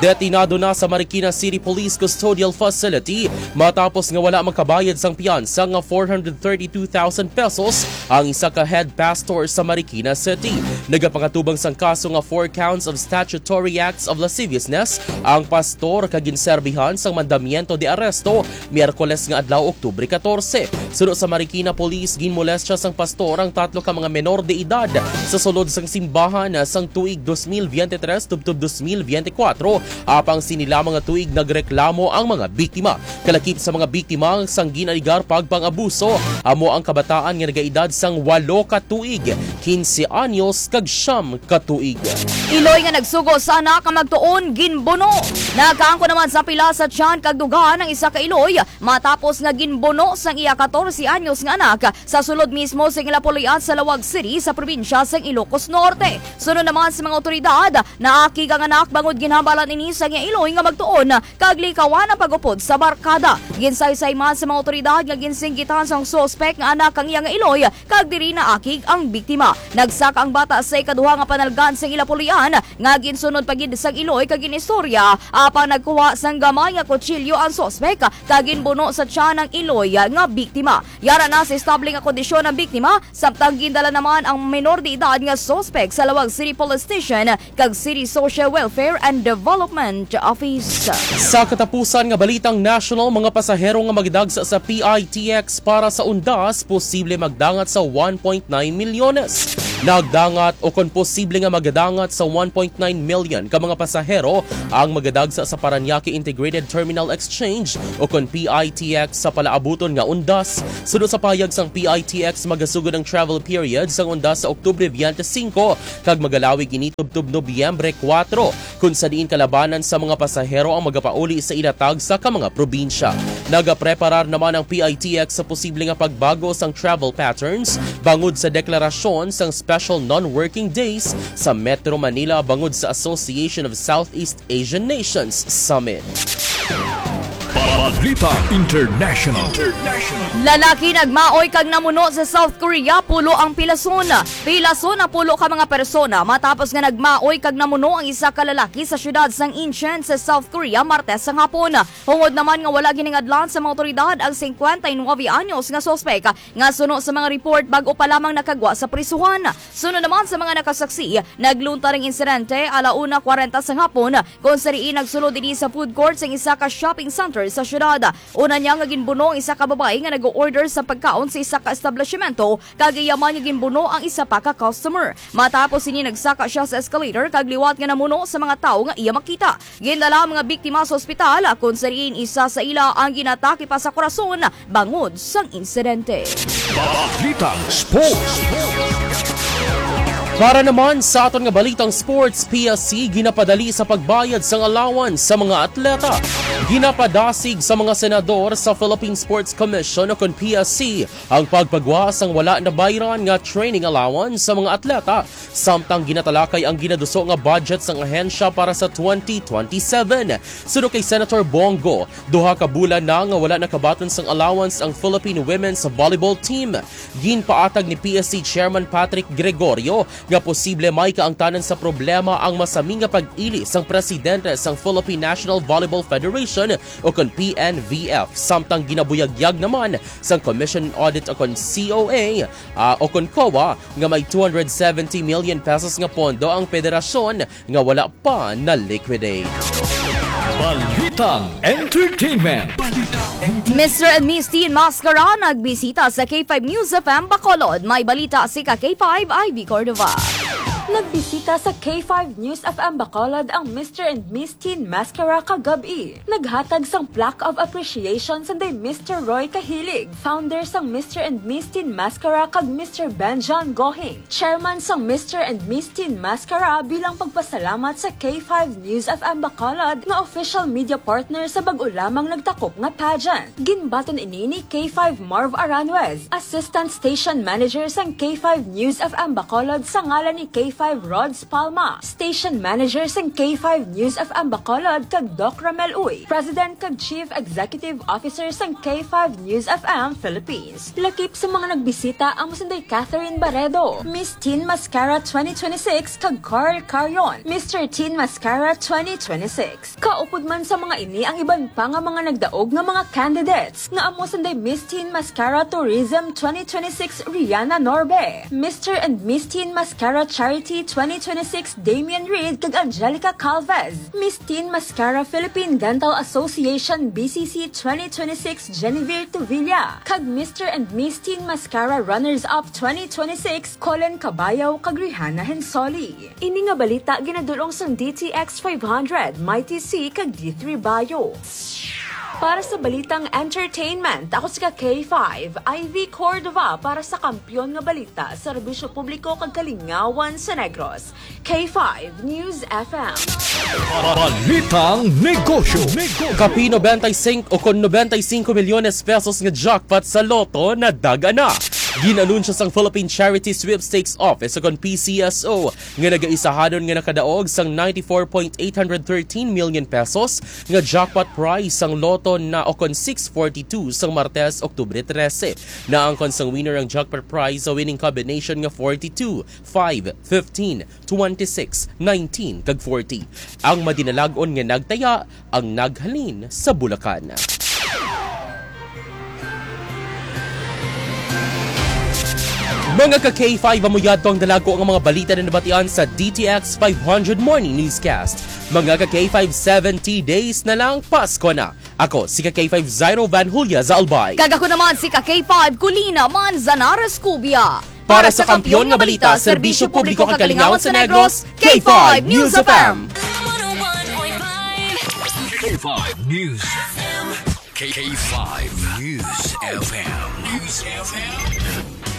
Detinado na sa Marikina City Police Custodial Facility matapos nga wala magkabayad sang piyansa nga four hundred thirty-two thousand pesos ang isa ka head pastor sa Marikina City. Nagapangatubang sang kaso nga four counts of statutory acts of lasciviousness ang pastor kag ginserbihan sang mandamiento de arresto Miyerkules nga adlaw, Oktubre catorce. Suno sa Marikina Police, ginmolestya sang pastor ang tatlo ka mga menor de edad sa sulod sang simbahan sang tuig dos mil biyente tres tubtob dos mil biyente kuwatro. Apang sini lamang nga tuig nagreklamo ang mga biktima. Kalakip sa mga biktima sang gin-alegar pagpang-abuso amo ang kabataan nga nagaedad sang walo ka tuig, kinse anyos kag siyam ka tuig. Iloy nga nagsugo sa anak nga magtuon ginbuno. Nakaangkon naman sa pila sa tiyan kag dugan ang isa ka iloy matapos nga ginbuno sang iya katorse anyos nga anak sa sulod mismo sa ila puloy-an sa Laoag City sa probinsya sang Ilocos Norte. Sunod naman sa mga awtoridad, naakig ang anak bangod ginhambalan ini sa iya iloy nga magtuon kag likawan ang pag-upod sa barkada. Ginsaysay man sa mga awtoridad nga ginsinggitan sang suspek nga anak ang iya nga iloy kag diri naakig ang biktima. Nagsaka ang bata sa ikaduha nga panalgan sang ila puloy-an nga ginsunod pa gid sang iloy kag ginistorya, apang nagkuha sang gamay nga kutsilyo ang suspek kag ginbuno sa tiyan ang iloy nga biktima. Yara na sa estable nga kondisyon ang biktima, samtang gindala naman ang menor de edad nga suspek sa Laoag City Police Station kag City Social Welfare and Development Office. Sa katapusan nga balitang national, mga pasahero nga magdagsa sa P I T X para sa undas posible magdangat sa one point nine milyones. Nagdangat o kon posible nga magadangat sa one point nine million ka mga pasahero ang magadagsa sa Parañaque Integrated Terminal Exchange o kon P I T X sa palaabuton nga undas. Suno sa pahayag sang P I T X, magasugod ang travel period sang undas sa Oktubre twenty-five kag magalawig ini tubtob Nobyembre kuwatro, kun sa diin kalabanan sa mga pasahero ang magapauli sa ila tagsa ka mga probinsya. Nagapreparar naman ang P I T X sa posible nga pagbago sang travel patterns bangod sa deklarasyon sang special non-working days sa Metro Manila bangod sa Association of Southeast Asian Nations Summit. Balita International. Lalaki nagmaoy kag namuno sa South Korea, pulo ang pilason. Pilason ang pulo ka mga persona matapos nga nagmaoy kag namuno ang isa ka lalaki sa siyudad sang Incheon sa South Korea Martes sang hapon. Hungod naman nga wala giningadlan sa mga awtoridad ang singkwenta y nuebe anyos nga suspek nga suno sa mga report bag-o pa lamang nakagwa sa prisuhan. Suno naman sa mga nakasaksi, naglunta ang insidente ala una kwarenta sang hapon, kung sa diin nagsulod ini sa food court sang isa ka shopping center sa siyudad. Una niya nga ginbuno ang isa ka babayi nga nag-order sa pagkaon sa isa ka establishmento, kag iya man nga ginbuno ang isa pa ka customer. Matapos ini, nagsaka siya sa escalator kag liwat nga namuno sa mga tawo nga iya makita. Gindala ang mga biktima sa ospital, kung sa diin isa sa ila ang ginatake pa sa korason bangod sang insidente. Balitang Sports. Para naman sa aton nga balitang sports, P S C ginapadali sa pagbayad sang allowance sa mga atleta. Ginapadasig sa mga senador sa Philippine Sports Commission o kon P S C ang pagpagwa sang wala nabayran nga training allowance sa mga atleta, samtang ginatalakay ang ginaduso nga budget sang ahensya para sa twenty twenty-seven. Suno kay Senator Bong Go, duha ka bulan na nga wala nakabaton sang allowance ang Philippine Women's Volleyball Team. Ginpaatag ni P S C Chairman Patrick Gregorio nga posible may kaangtanan sa problema ang masami nga pag-ili sang presidente sang Philippine National Volleyball Federation o kon P N V F, samtang ginabuyagyag naman sang Commission on Audit o kon C O A, ah, o kon COA, nga may two hundred seventy million pesos nga pondo ang federasyon nga wala pa na-liquidate. Balitang Entertainment. Mister and Miss Teen Mascara nagbisita sa K five News F M Bacolod. May balita si ka K five, Ivy Cordova. Nagbisita sa K five News F M Bacolod ang Mister and Miss Teen Mascara kagab-i. Naghatag sang plaque of appreciation sanday Mister Roy Kahilig, founder sang Mister and Miss Teen Mascara, kag Mister Benjan Gohing, chairman sang Mister and Miss Teen Mascara, bilang pagpasalamat sa K five News F M Bacolod nga official media partner sa bag-o lamang nagtakop nga pageant. Ginbaton ini ni K five Marv Aranjuez, Assistant Station Manager sang K five News F M Bacolod, sa ngalan ni K five Rods Palma, Station Manager sang K five News F M Bacolod, kag Doc Ramel Uy, President kag Chief Executive Officer sang K five News F M Philippines. Lakip sa mga nagbisita amo sanday Catherine Barredo, Miss Teen Mascara twenty twenty-six, kag Carl Carion, Mister Teen Mascara twenty twenty-six. Kaupod man sa mga ini ang iban pa nga mga nagdaog nga mga candidates, nga amo sanday Miss Teen Mascara Tourism twenty twenty-six Rihanna Norbe, Mister and Miss Teen Mascara Charity T twenty twenty-six Damian Reid kag Angelica Calvez, Miss Teen Mascara Philippine Dental Association B C C twenty twenty-six Genevieve Tuvilla, kag Mister and Miss Teen Mascara Runners-Up twenty twenty-six Colin Cabayaw kag Rihanna Hensoli. Ini nga balita ginadul-ong sang D T X five hundred, Mighty C, kag D three Bio. Para sa balitang entertainment, ako si ka K five, Ivy Cordova, para sa kampiyon nga balita, serbisyo publiko kag kalingawan sa Negros. K five News F M. Balitang negosyo. Kapi nobenta y cinco o kon nobenta y cinco milyones pesos nga jackpot sa Lotto na daga na. Ginanunsyo sang Philippine Charity Sweepstakes Office o kon P C S O nga nagaisahanon nga nakadaog sang ninety-four point eight hundred thirteen million pesos nga jackpot prize sang Lotto na o kon six forty-two sang Martes, Oktubre trese. Naangkon sang winner ang jackpot prize sa winning combination nga forty-two, five, fifteen, twenty-six, nineteen, kag forty. Ang madinalag-on nga nagtaya ang naghalin sa Bulacan. Mga ka K five, amo yadto ang dalago nga mga balita na nabatian sa D T X five hundred Morning Newscast. Mga ka K five, seventy days na lang, Pasko na. Ako si ka K five, Zairo Van Julia Zalbay. Kag ako naman si ka K five, Colina Manzanares Cubia. Para sa kampiyon nga balita, serbisyo publiko kag kalingawan sa Negros, K five News F M. K five News F M. K five News F M. News F M.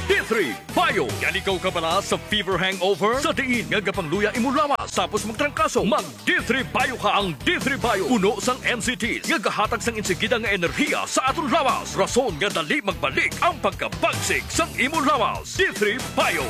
D three Bio. Yan ikaw kabala sa fever hangover? Sa diin nga gapangluya imo lawas tapos magtrangkaso, mag D three Bio ka. Ang D three Bio puno sang N C T nga gahatag sang insigida nga enerhiya sa aton lawas, rason nga dali magbalik ang pagkabagsik sang imo lawas. D three Bio.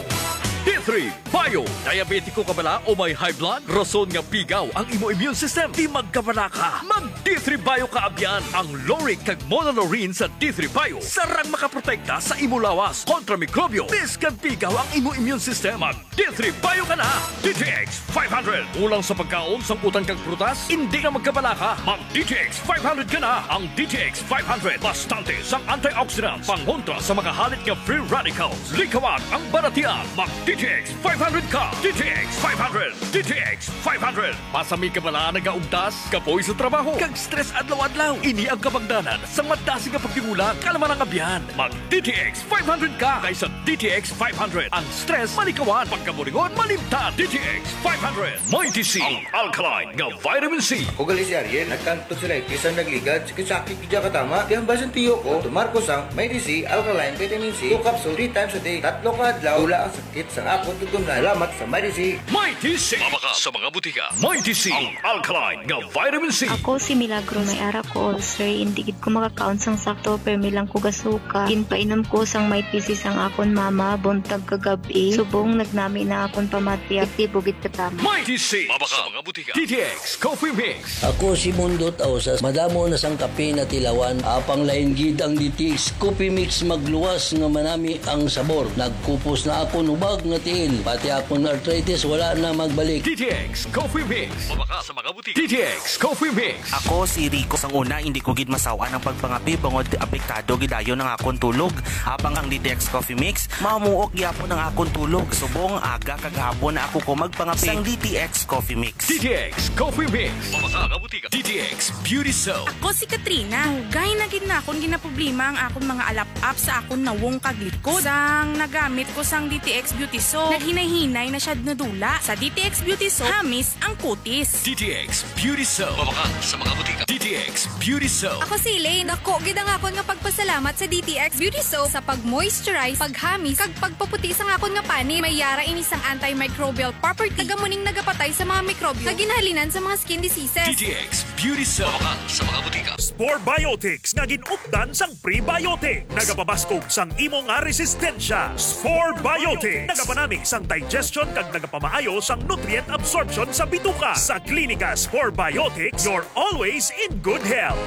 D three Bio. Diabetiko ka bala o may high blood? Rason nga pigaw ang imo immune system. Di magkabala ka. Mag D three Bio ka abyan. Ang lauric kag monolaurin sa D three Bio sarang makaprotekta sa imo lawas kontra mikrobyo. Bisan pigaw ang imo immune system, mag D three Bio ka na. D T X five hundred. Kulang sa pagkaon, sangkutan kag prutas? Indi na magkabala ka. Mag D T X five hundred ka na. Ang D T X five hundred bastante sang antioxidants, pangontra sa mga halit nga free radicals. Likawan ang balatian. Mag D T X five hundred ka. D T X five hundred. D T X five hundred. Pasami ka bala nagaugtas, kapoy sa trabaho, kag stress adlaw-adlaw? Ini ang kabangdanan sang madasig nga pagtigulang. Kalma lang abyan. Mag D T X five hundred ka kaysa D T X five hundred. Ang stress malikawan, pagkaburingon malimtan. D T X five hundred. Mighty C, ang alkaline nga vitamin C. Ako gali si Ariel, nagkantod sa light, isang nagligad, sakit-sakit, di ka tama. Di ang basin tiyo ko, tumar ko sang Mighty C, alkaline vitamin C, two capsule, three times a day, tatlo ka adlaw, wala ang sakit sang akon tutunlan. Salamat sa Mighty C. Mighty C. Mabakal sa mga butika. Mighty C, ang alkaline nga vitamin C. Ako si Milagros, may ara ko ulcer, hindi gid ko makakaon sang sakto, permi lang ko gasuka. Ginpainom ko sang Mighty C sang akon mama, buntag kag gab-i. Subong nagnami na akon pamati, aktibo gid katama. Mighty C. Mabakal sa mga butika. D T X Coffee Mix. Ako si Mundo Tausas. Madamo na sang kape natilawan. Apang lain gid ang D T X Coffee Mix, magluwas nga manami ang sabor. Nagkupos na akon hubag nga tiil, pati akon arthritis wala na magbalik. D T X Coffee Mix. Mabakal sa mga butika. D T X Coffee Mix. Ako si Rico. Sang una, hindi ko gid masaw-an ang pagpangape bangod apektado gid dayon ang akon tulog. Apang ang D T X Coffee Mix, mamuok gyapon ang akon tulog. Subong aga kag hapon na ako ko magpangape sang D T X Coffee Mix. D T X Coffee Mix. Mabakal sa mga butika. D T X Beauty Soap. Ako si Katrina. Dugay na gid na akon ginaproblema ang akon mga alap-ap sa akon nawong kag likod. Sang nagamit ko sang D T X Beauty Soap, naghinay-hinay na siya nadula. Sa D T X Beauty Soap, hamis ang kutis. D T X Beauty Soap. Mabakal sa mga butika. D T X Beauty Soap. Ako si Elaine. Dako gid ang akon nga pagpasalamat sa D T X Beauty Soap sa pag-moisturize, paghamis, kag pagpaputi sang akon nga panit. May yara ini sang antimicrobial property, kag amo ning nagapatay sa mga mikrobyo nga ginhalinan sa mga skin diseases. D T X Beauty Soap. Mabakal sa mga butika. Spore Biotics nga gin-updan sang prebiotic. Nagapabaskog sang imo nga resistensya. Spore Biotics. Nagapanami sang digestion kag nagapamaayo sang nutrient absorption sa bituka. Sa Klinika Spore Biotics, you're always in good health.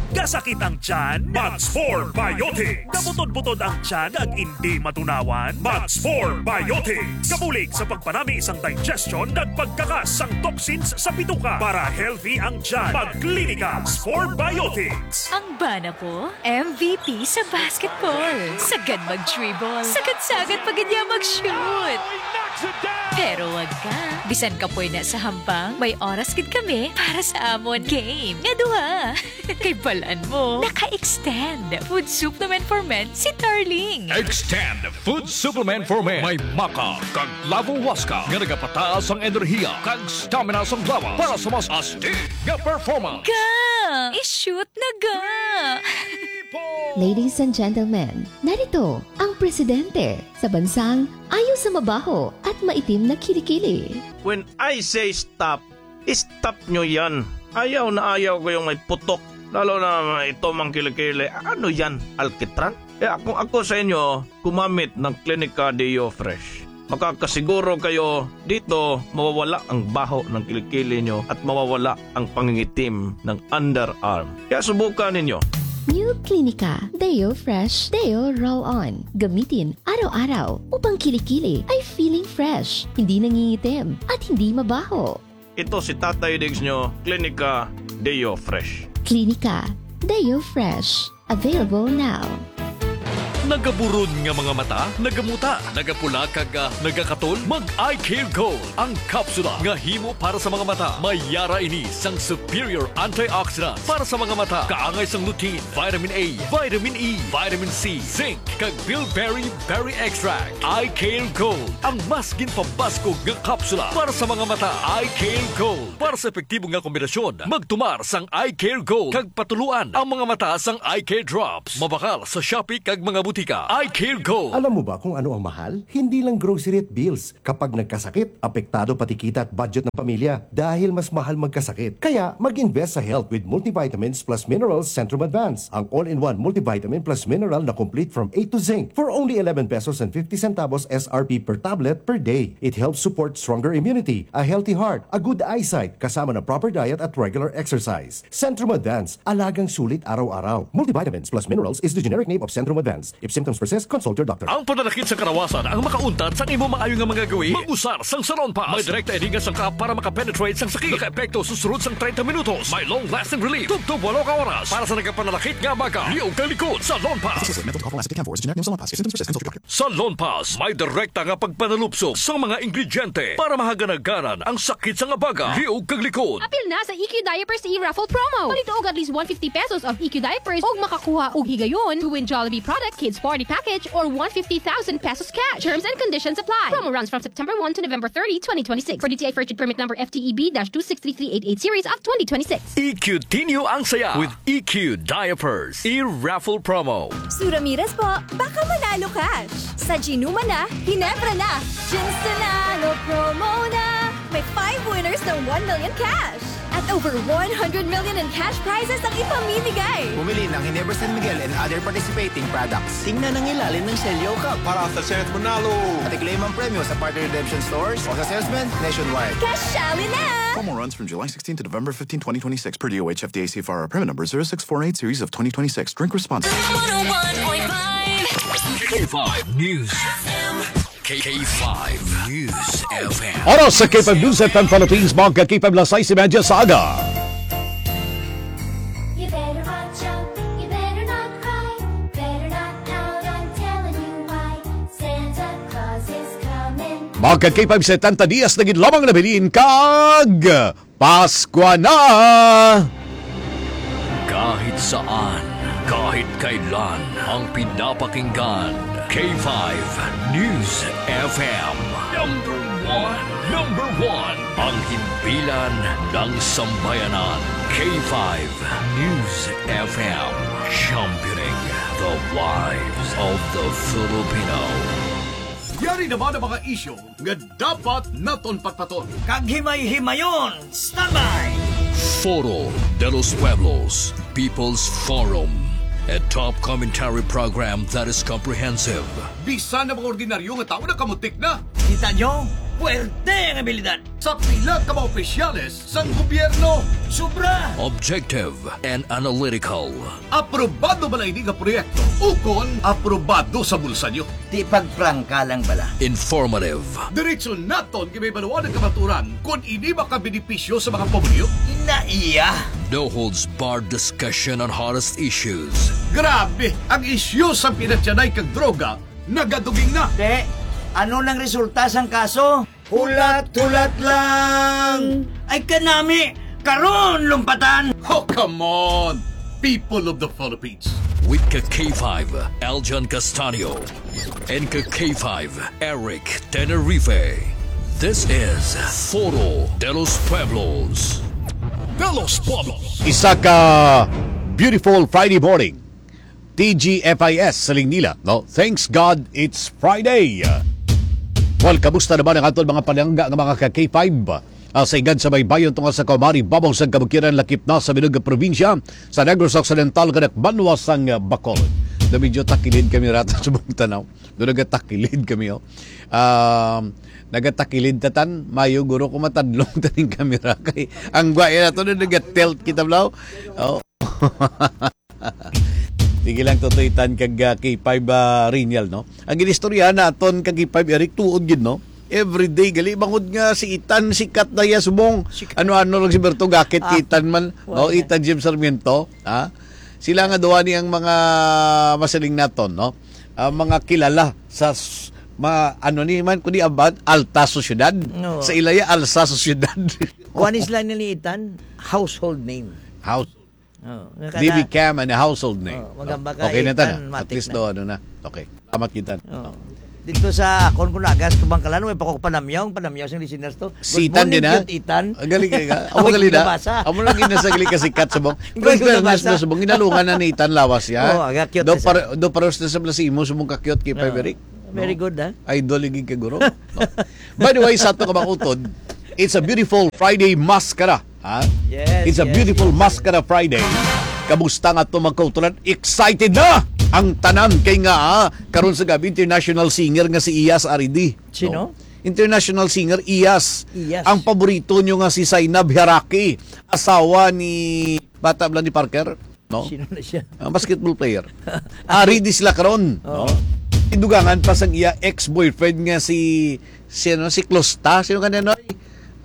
Kasakit ang tiyan? Mag Spore Biotics. Kabutod-butod ang tiyan kag indi matunawan? Mag Spore Biotics. Kabulig sa pagpanami sang digestion kag pagkakas sang toxins sa bituka. Para healthy ang tiyan, mag Klinika Spore Biotics. Ang bana ko, M V P sa basketball. Sagad mag-dribble. Sagad-sagad pa gid niya mag-shoot. Pero wag ka. Bisan kapoy na sa hampang, may oras gid kami para sa amon game nga duha. Kay balan mo, naka-extend. Food supplement for men si Darling. Extend Food Supplement for Men. May maca kag lavo huasca nga nagapataas ang enerhiya kag stamina sang lawas para sa mas astig nga performance. Ga! I-shoot na ga! Ladies and gentlemen, narito ang presidente sa bansang ayaw sa mabaho at maitim na kilikili. When I say stop, stop nyo yan. Ayaw na ayaw ko yung may putok. Lalo na ito mang kilikili. Ano yan? Alkitran? Kaya kung ako sa inyo, gumamit ng Clinica Deo Fresh. Makakasiguro kayo dito mawawala ang baho ng kilikili nyo at mawawala ang pangingitim ng underarm. Kaya subukan ninyo. New Clinica Deo Fresh Deo Roll On. Gamitin araw-araw upang kilikili ay feeling fresh, hindi nangingitim, at hindi mabaho. Ito si Tatay Diggs nyo, Clinica Deo Fresh. Clinica Deo Fresh. Available now. Nagaburon nga mga mata, nagamuta, nagapula kag, ah, nagakatol? Mag Eye Care Gold, ang kapsula nga himo para sa mga mata. May yara ini sang superior antioxidants para sa mga mata, kaangay sang lutein, vitamin A, vitamin E, vitamin C, zinc, kag bilberry berry extract. Eye Care Gold, ang mas ginpabaskog nga kapsula para sa mga mata. Eye Care Gold, para sa epektibo nga kombinasyon, magtumar sang Eye Care Gold kag patuluan ang mga mata sang Eye Care Drops. Mabakal sa Shopee kag mga butika. Eye Care Gold. Alam mo ba kung ano ang mahal? Hindi lang grocery at bills. Kapag nagkasakit, apektado pati kita at budget ng pamilya dahil mas mahal magkasakit. Kaya mag-invest sa health with multivitamins plus minerals Centrum Advance. Ang all-in-one multivitamin plus mineral na complete from A to zinc for only eleven pesos and fifty centavos S R P per tablet per day. It helps support stronger immunity, a healthy heart, a good eyesight, kasama ng proper diet at regular exercise. Centrum Advance, alagang sulit araw-araw. Multivitamins plus minerals is the generic name of Centrum Advance. If symptoms persist, consult your doctor. Ang pananakit sa karawasan ang makauntat sang imo maayo nga mga gawi. Mag-usar sang Salonpas. May direkta ini nga sangkap para makapenetrate sang sakit. Nakaepekto sa sulod sang treinta minutos. May long-lasting relief. Tubtob walo ka oras. Para sa nagapananakit nga baga, liog kag likod. Salonpas. This is a mental health and chem for generic name Salonpas. If symptoms persist, consult your doctor. Salonpas, may direkta nga pagpanalupsok sang mga ingrediente para mahaganaganan ang sakit sang abaga, liog kag likod. Apil na sa E Q Diapers e-raffle promo. Palito og at least one fifty pesos of E Q diapers og makakuha og higayon to win Jollibee product, kids party package, or one fifty thousand pesos cash. Terms and conditions apply. Promo runs from September one to November thirty, twenty twenty-six. For D T I Furtune Permit Number F T E B dash two six three three eight eight series of twenty twenty-six. E Q-tin nyo ang saya with E Q Diapers e-raffle promo. Sura Miras po, baka manalo cash. Sa Ginuma na, Ginebra na. Gin Nanalo promo na! May five winners ng one million cash at over one hundred million in cash prizes ang ipamimigay. Pumili ng Ginebra San Miguel and other participating products. Tingnan ang ilalim ng selyo, Kap. Para sa chance manalo. At i-claim ang premyo sa partner redemption stores o sa salesman nationwide. Kasali na! Promo runs from July sixteen to November fifteen, twenty twenty-six, per D O H F D A C F R, permit number zero six four eight series of twenty twenty-six. Drink responsibly. One oh one point five K five News. K five News F M. Oras sa K five News F M Philippines, mga K five, alas sais y media sa aga. You better watch out, you better not cry, better not pout, I'm telling you why. Santa Claus is coming. Mga K five, setenta dias na gid lamang nabilin kag Paskwa na! Kahit saan, kahit kailan, ang pinapakinggan, K five News F M. Number one, number one, ang himpilan ng sambayanan, K five News F M, championing the lives of the Filipino. Yari naman ang mga isyu nga dapat naton patpaton. Kag himay-himayon, standby! Foro de los Pueblos, People's Forum, a top commentary program that is comprehensive. Bisan ang mga ordinaryo nga tawo nakamutik na. Kita nyo? Puwerte ang abilidad! Sa pila ka mga opisyales sang gobyerno. Sobra! Objective and analytical. Aprobado ba lang ini nga proyekto? Ukon aprobado sa bulsa nyo? Di pagprangka lang bala. Informative. Diretso naton gibabaluan ang kamaturan kon ini makabenepisyo sa mga pamilyo. Ina iya. No holds barred discussion on hottest issues. Grabe, ang isyu sa pinatyanay kag droga nagaduging na. Te, ano nang resulta sang kaso? Hulat-hulat lang. Ay kanami, karon lumpatan. Oh, come on, people of the Philippines. With ka K five, Aljan Castanio, and ka K five, Eric Tenerife. This is Foro de los Pueblos. De los Pueblos. Isa ka beautiful Friday morning. T G F I S sa Lingnila, no? Thanks God it's Friday. Well, kamusta naman ang aton mga palangga nga mga ka K five? Ah, sa Igan sa Baybayon, tunga sa Kaumari, babaw sang Kabukidnon, lakip na sa bilog nga probinsya sa Negros Occidental, kanak banwa sang, ah, Bacolod. Na medyo takilid kami rata sa buong tanaw. Doon nagatakilid kami, oh. Um, nagatakilid tatan, mayo guro ko matadlong taning kamera kay ang guwaya na to na nagatilt kita, blaw. Oh. Sige lang, Totoy Tan kag, ah, K five, ah, Riniel, no? Ang ginistorya naton kag K five Eric, tuod gid, no? Everyday gali, bangod nga si Itan sikat na iya subong. Sikat. Ano-ano lang si Berto gakit kay Ah, Itan man, wala no? na. Itan Jim Sarmiento, ha? Sila nga duha ni ang mga masiling naton, no? Ah, mga kilala sa s-, mga, ano ni man, kundi about alta sociedad. No. Sa ilaya, alsa sociedad. Kuan is lang ni Itan, household name. House. Oh, nga D B kana- Cam and a household name. Oh, magamba ka, Okay na ta Itan, na. At matik least na. do, ano na. Okay. Salamat kita. Oh. Dito sa akon ko nagas, Kabangkalan, may pa ko panamyaw, panamyaw sing listeners to. Good Si Itan morning, din, ha? Cute Itan. Ah, galing kayo ka. Amo Ako galing na. nabasa. Amo lang ginasagli kasi kat subong. Ikaw Pero yung fairness nabasa. na subong, ginalungan na ni Itan lawas, ya. Oh, aga cute Do isa. par-, do paros na sa si imo subong ka cute kay Oh. Frederick. Very No? good, ha? Idol yung gig ka guro. No? By the way, sa ato ka mga utod, it's a beautiful Friday maskara. Ha? Yes, It's a yes, beautiful yes. Maskara Friday. Kamusta nga to, mga kautulan? Excited na ang tanan kay nga, ah, karon sa gabi, international singer nga si Iyas Aridi. Sino? No? International singer Iyas. Iyas. Ang paborito nyo nga si Zainab Hiaraki, asawa ni bata bala ni Parker, no? Sino na siya? Ah, basketball player. Aridi sila karon, Oo. no? Idugangan pa sang iya ex-boyfriend nga si, si, ano, si Closta. Sino ka na, Noy?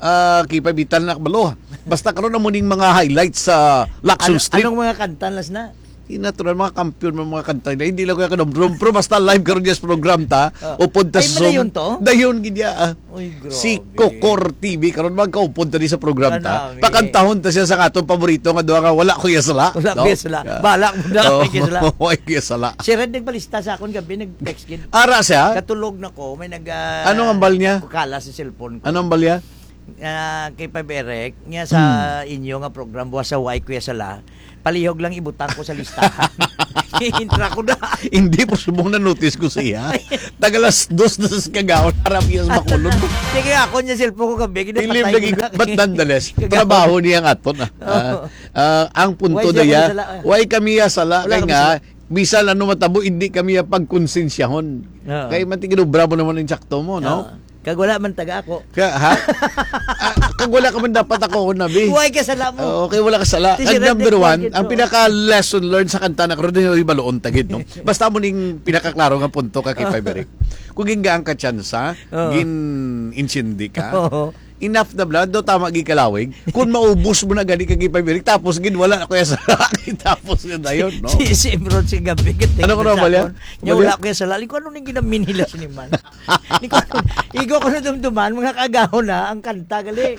Ah, kipabitan na kabalo. Basta karon na mo ning mga highlights sa Lakson Ano, Strip. Anong mga kanta las na? Di natural, mga kampiyon, mga, mga kanta na. Hindi lang ko yung kanumdum. Pero basta live karon niya sa program ta. Ah. Upod ta Ay, sa Zoom. Madayon to? Dayon gid ya, ah. Uy, grabe. Si Kokor T V karon magkaupod ta di sa program ta. Kanami. Pakantahon ta siya sa atong paborito nga duha nga wala ko iya sala. Wala No? ko iya sala. Yeah. Bala mo na, Oh, wala ko iya sala. Wala ko iya sala. Si Red nagbalista sa akon gabi, nag-text gid. Ara siya? Katulog na ko, may nag, ah, Ano ang hambal niya? Kala sa cellphone ko. Ano ang hambal niya? Ah, kay Pab Eric, niya sa Hmm. inyo nga program, buwas sa Why Kuya Sala, palihog lang ibutang ko sa listahan. Intra ko na. Hindi po subong na notice ko siya. Taga alas dos na sa kagaon, harap niya sa Bacolod. Sige, ako niya cellphone ko gabi, Ilim ginapatay lagi, ko na. But nonetheless, Kagaon. trabaho niya nga to na. Oo. Ah, ah, ang punto Why siya na ya, may sala, ah? why kami ya sala? Wala Kay kami nga, sala. bisan ano matabo, hindi kami ya pagkonsensyahon. Oo. Kay matiginubra mo naman yung sakto mo, no? Oo. Kag wala man taga ako. Ka, ha? Ah, kag wala ka man dapat ako, nabi. Why ka sala mo? Oo, kay wala ka sala. Ti si Kag Red number Deck one, Market, ang oo. pinaka lesson learned sa kanta na karon, yung baloon tagid, no? Basta mo ning pinakaklaro nga punto ka kay Five Eric. Kung gingaan ka tsansa, Oo. gin-insindi ka, Oo. enough na bala, do tama gikalawig. Kung maubos mo na gani kay Five Eric, tapos gid wala na kuya sa tapos na dayon, no? Si, si Emerald si gabi, gid, Ano ko na, sa Malia? akon. Nya Malia? wala kuya sa lalim. Kung ano ning ginaminila siniman? Ni ko, igo ko na dumduman, mga kagahon na, ang kanta gali.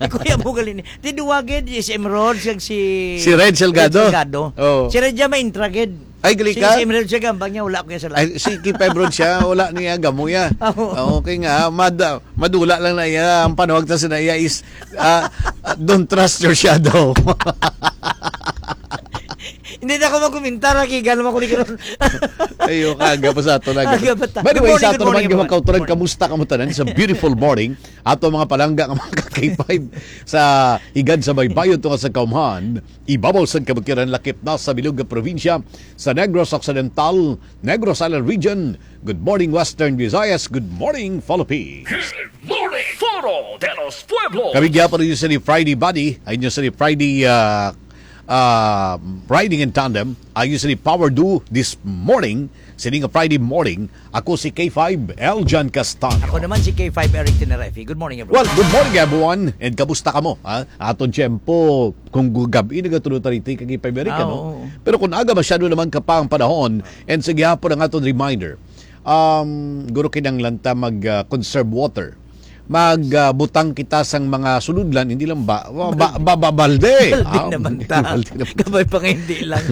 Ni Kuya mo gali ni. Ti duwa gid, si Emerald, siyang si Si Red Salgado. Red Salgado. Oo. Si Red siya maintra gid. Ay, gali Si, ka? si Emerald siya gambang niya, wala ko yung sala. Ay, si Kipay Brown siya, wala niya gamo ya. Oo. Oo, okay nga, mad-, madula lang na iya. Ang panawag ta sa na iya is, ah, ah, "Don't trust your shadow." Hindi na ako magkomentar, ha, kay gano'n ako ni karon. Ayo, kaga pa sa ato na. Aga pa ta. By the Good way, morning, sa good ato naman morning, yung everyone. Kauturan, Good morning. kamusta ka mo tanan sa beautiful morning? Ato mga palangga nga mga ka-K five sa Higad sa Baybayon tunga sa Kaumhan, ibabaw sa Kabukiran, lakip na sa bilog nga probinsya sa Negros Occidental, Negros Island Region. Good morning, Western Visayas. Good morning, Philippines. Good morning, Foro de los Pueblos. Kami gyapon ninyo sa ni Friday Buddy, ay ninyo sa ni Friday, ah, ah, Riding in Tandem, ay ninyo sa ni Power Duo this morning, sini nga Friday morning. Ako si K five, Eljan Castaño. Ako naman si K five, Eric Tenerife. Good morning, everyone. Well, good morning, everyone. And kamusta ka mo, ha? Aton tiyempo, kung gu-, gabi, nagatuloy ta rito, kay K five Eric, Ah, ano? oo. Pero kung aga, masyado naman ka pa ang panahon. And sige, hapon ang aton reminder. Um, guro, kinahanglan ta mag, ah, conserve water. Mag, ah, butang kita sang mga suludlan, hindi lang ba, ba, ba, ba, ba- balde. Balde Ah, naman ta. Balde naman. Kabay pa nga hindi lang.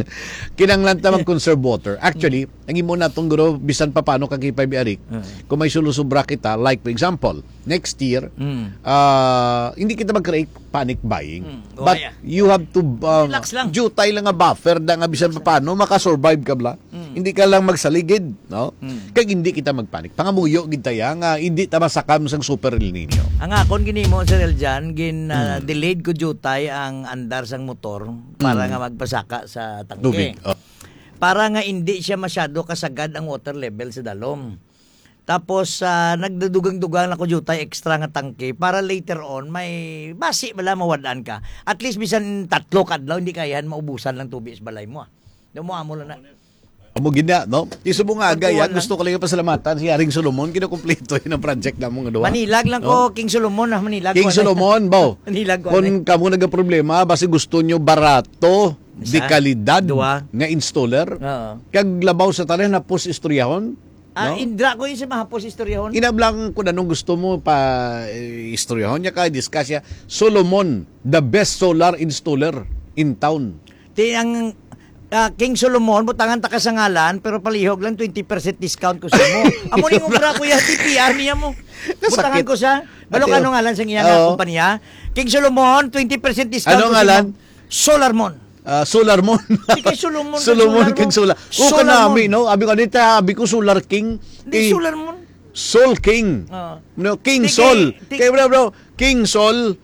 Kinahanglan ta mag-conserve water. Actually, ang imo natong guro, bisan pa paano ka kipay biarik, Ah. kung may sulusubra kita, like for example, next year, Mm. ah, hindi kita mag-create panic buying. Mm. But Okay, ah. You have to, ah, Relax lang. Jutay lang nga buffer da nga bisan pa paano, makasurvive ka bla. Mm. Hindi ka lang magsaligid, no? Mm. Kag hindi kita magpanic. Pangamuyo gid taya nga hindi ta masakam sang super El Nino. Ang akon ginimo, Sir Eljan, gin ah, Mm. delayed ko jutay ang andar sang motor para Mm. nga magpasaka sa tangke. Tubig. Oh. Para nga hindi siya masyado kasagad ang water level sa dalom. Tapos ah, nagdadugang-dugang na ko jutay extra nga tangke para later on may basi bala mawad-an ka. At least bisan tatlo ka adlaw hindi kayahan maubusan lang tubig sa balay mo. Ah. Daw mo amo lang na. Amo gid na, no? Iso mo nga agay, Pagkuha ah, gusto ko lang pasalamatan si Haring Solomon, kinakumpleto yun ang project namong duha. Manilag lang No? ko, King Solomon, ah, manilag King ko, ano? Solomon, baw. Manilag ko, Kung ano? Kamo nagaproblema, basi gusto nyo barato, Isa, dekalidad duha. Nga installer. Oo. Kag labaw sa tanan, hapos istoryahon. Ah, No? Indra ko yung sa mahapos istoryahon. Inablang ko na nung gusto mo pa eh, istoryahon niya ka, discuss siya. Solomon, the best solar installer in town. Ti ang ah, King Solomon, butangan ta ka sa ngalan, pero palihog lang twenty percent discount ko sa mo. Amo ning obra ko ya, T P R niya mo. Nasakit. Butangan ko sa. Balo Ate, ka ano ngalan sa iya oo. Nga kumpanya? King Solomon, twenty percent discount Ano ko sa ngalan? Mo. Solarmon. Ah, Solarmon. Di kay Solomon, Solomon Solarmon. kag Solar. O Solarmon. Kanami, no? Abi ko, dito, abi ko Solar King. Di Eh, Solarmon. Sol King. Oo. No, King Di Sol. kay- di- Kay bro, bro, King Sol.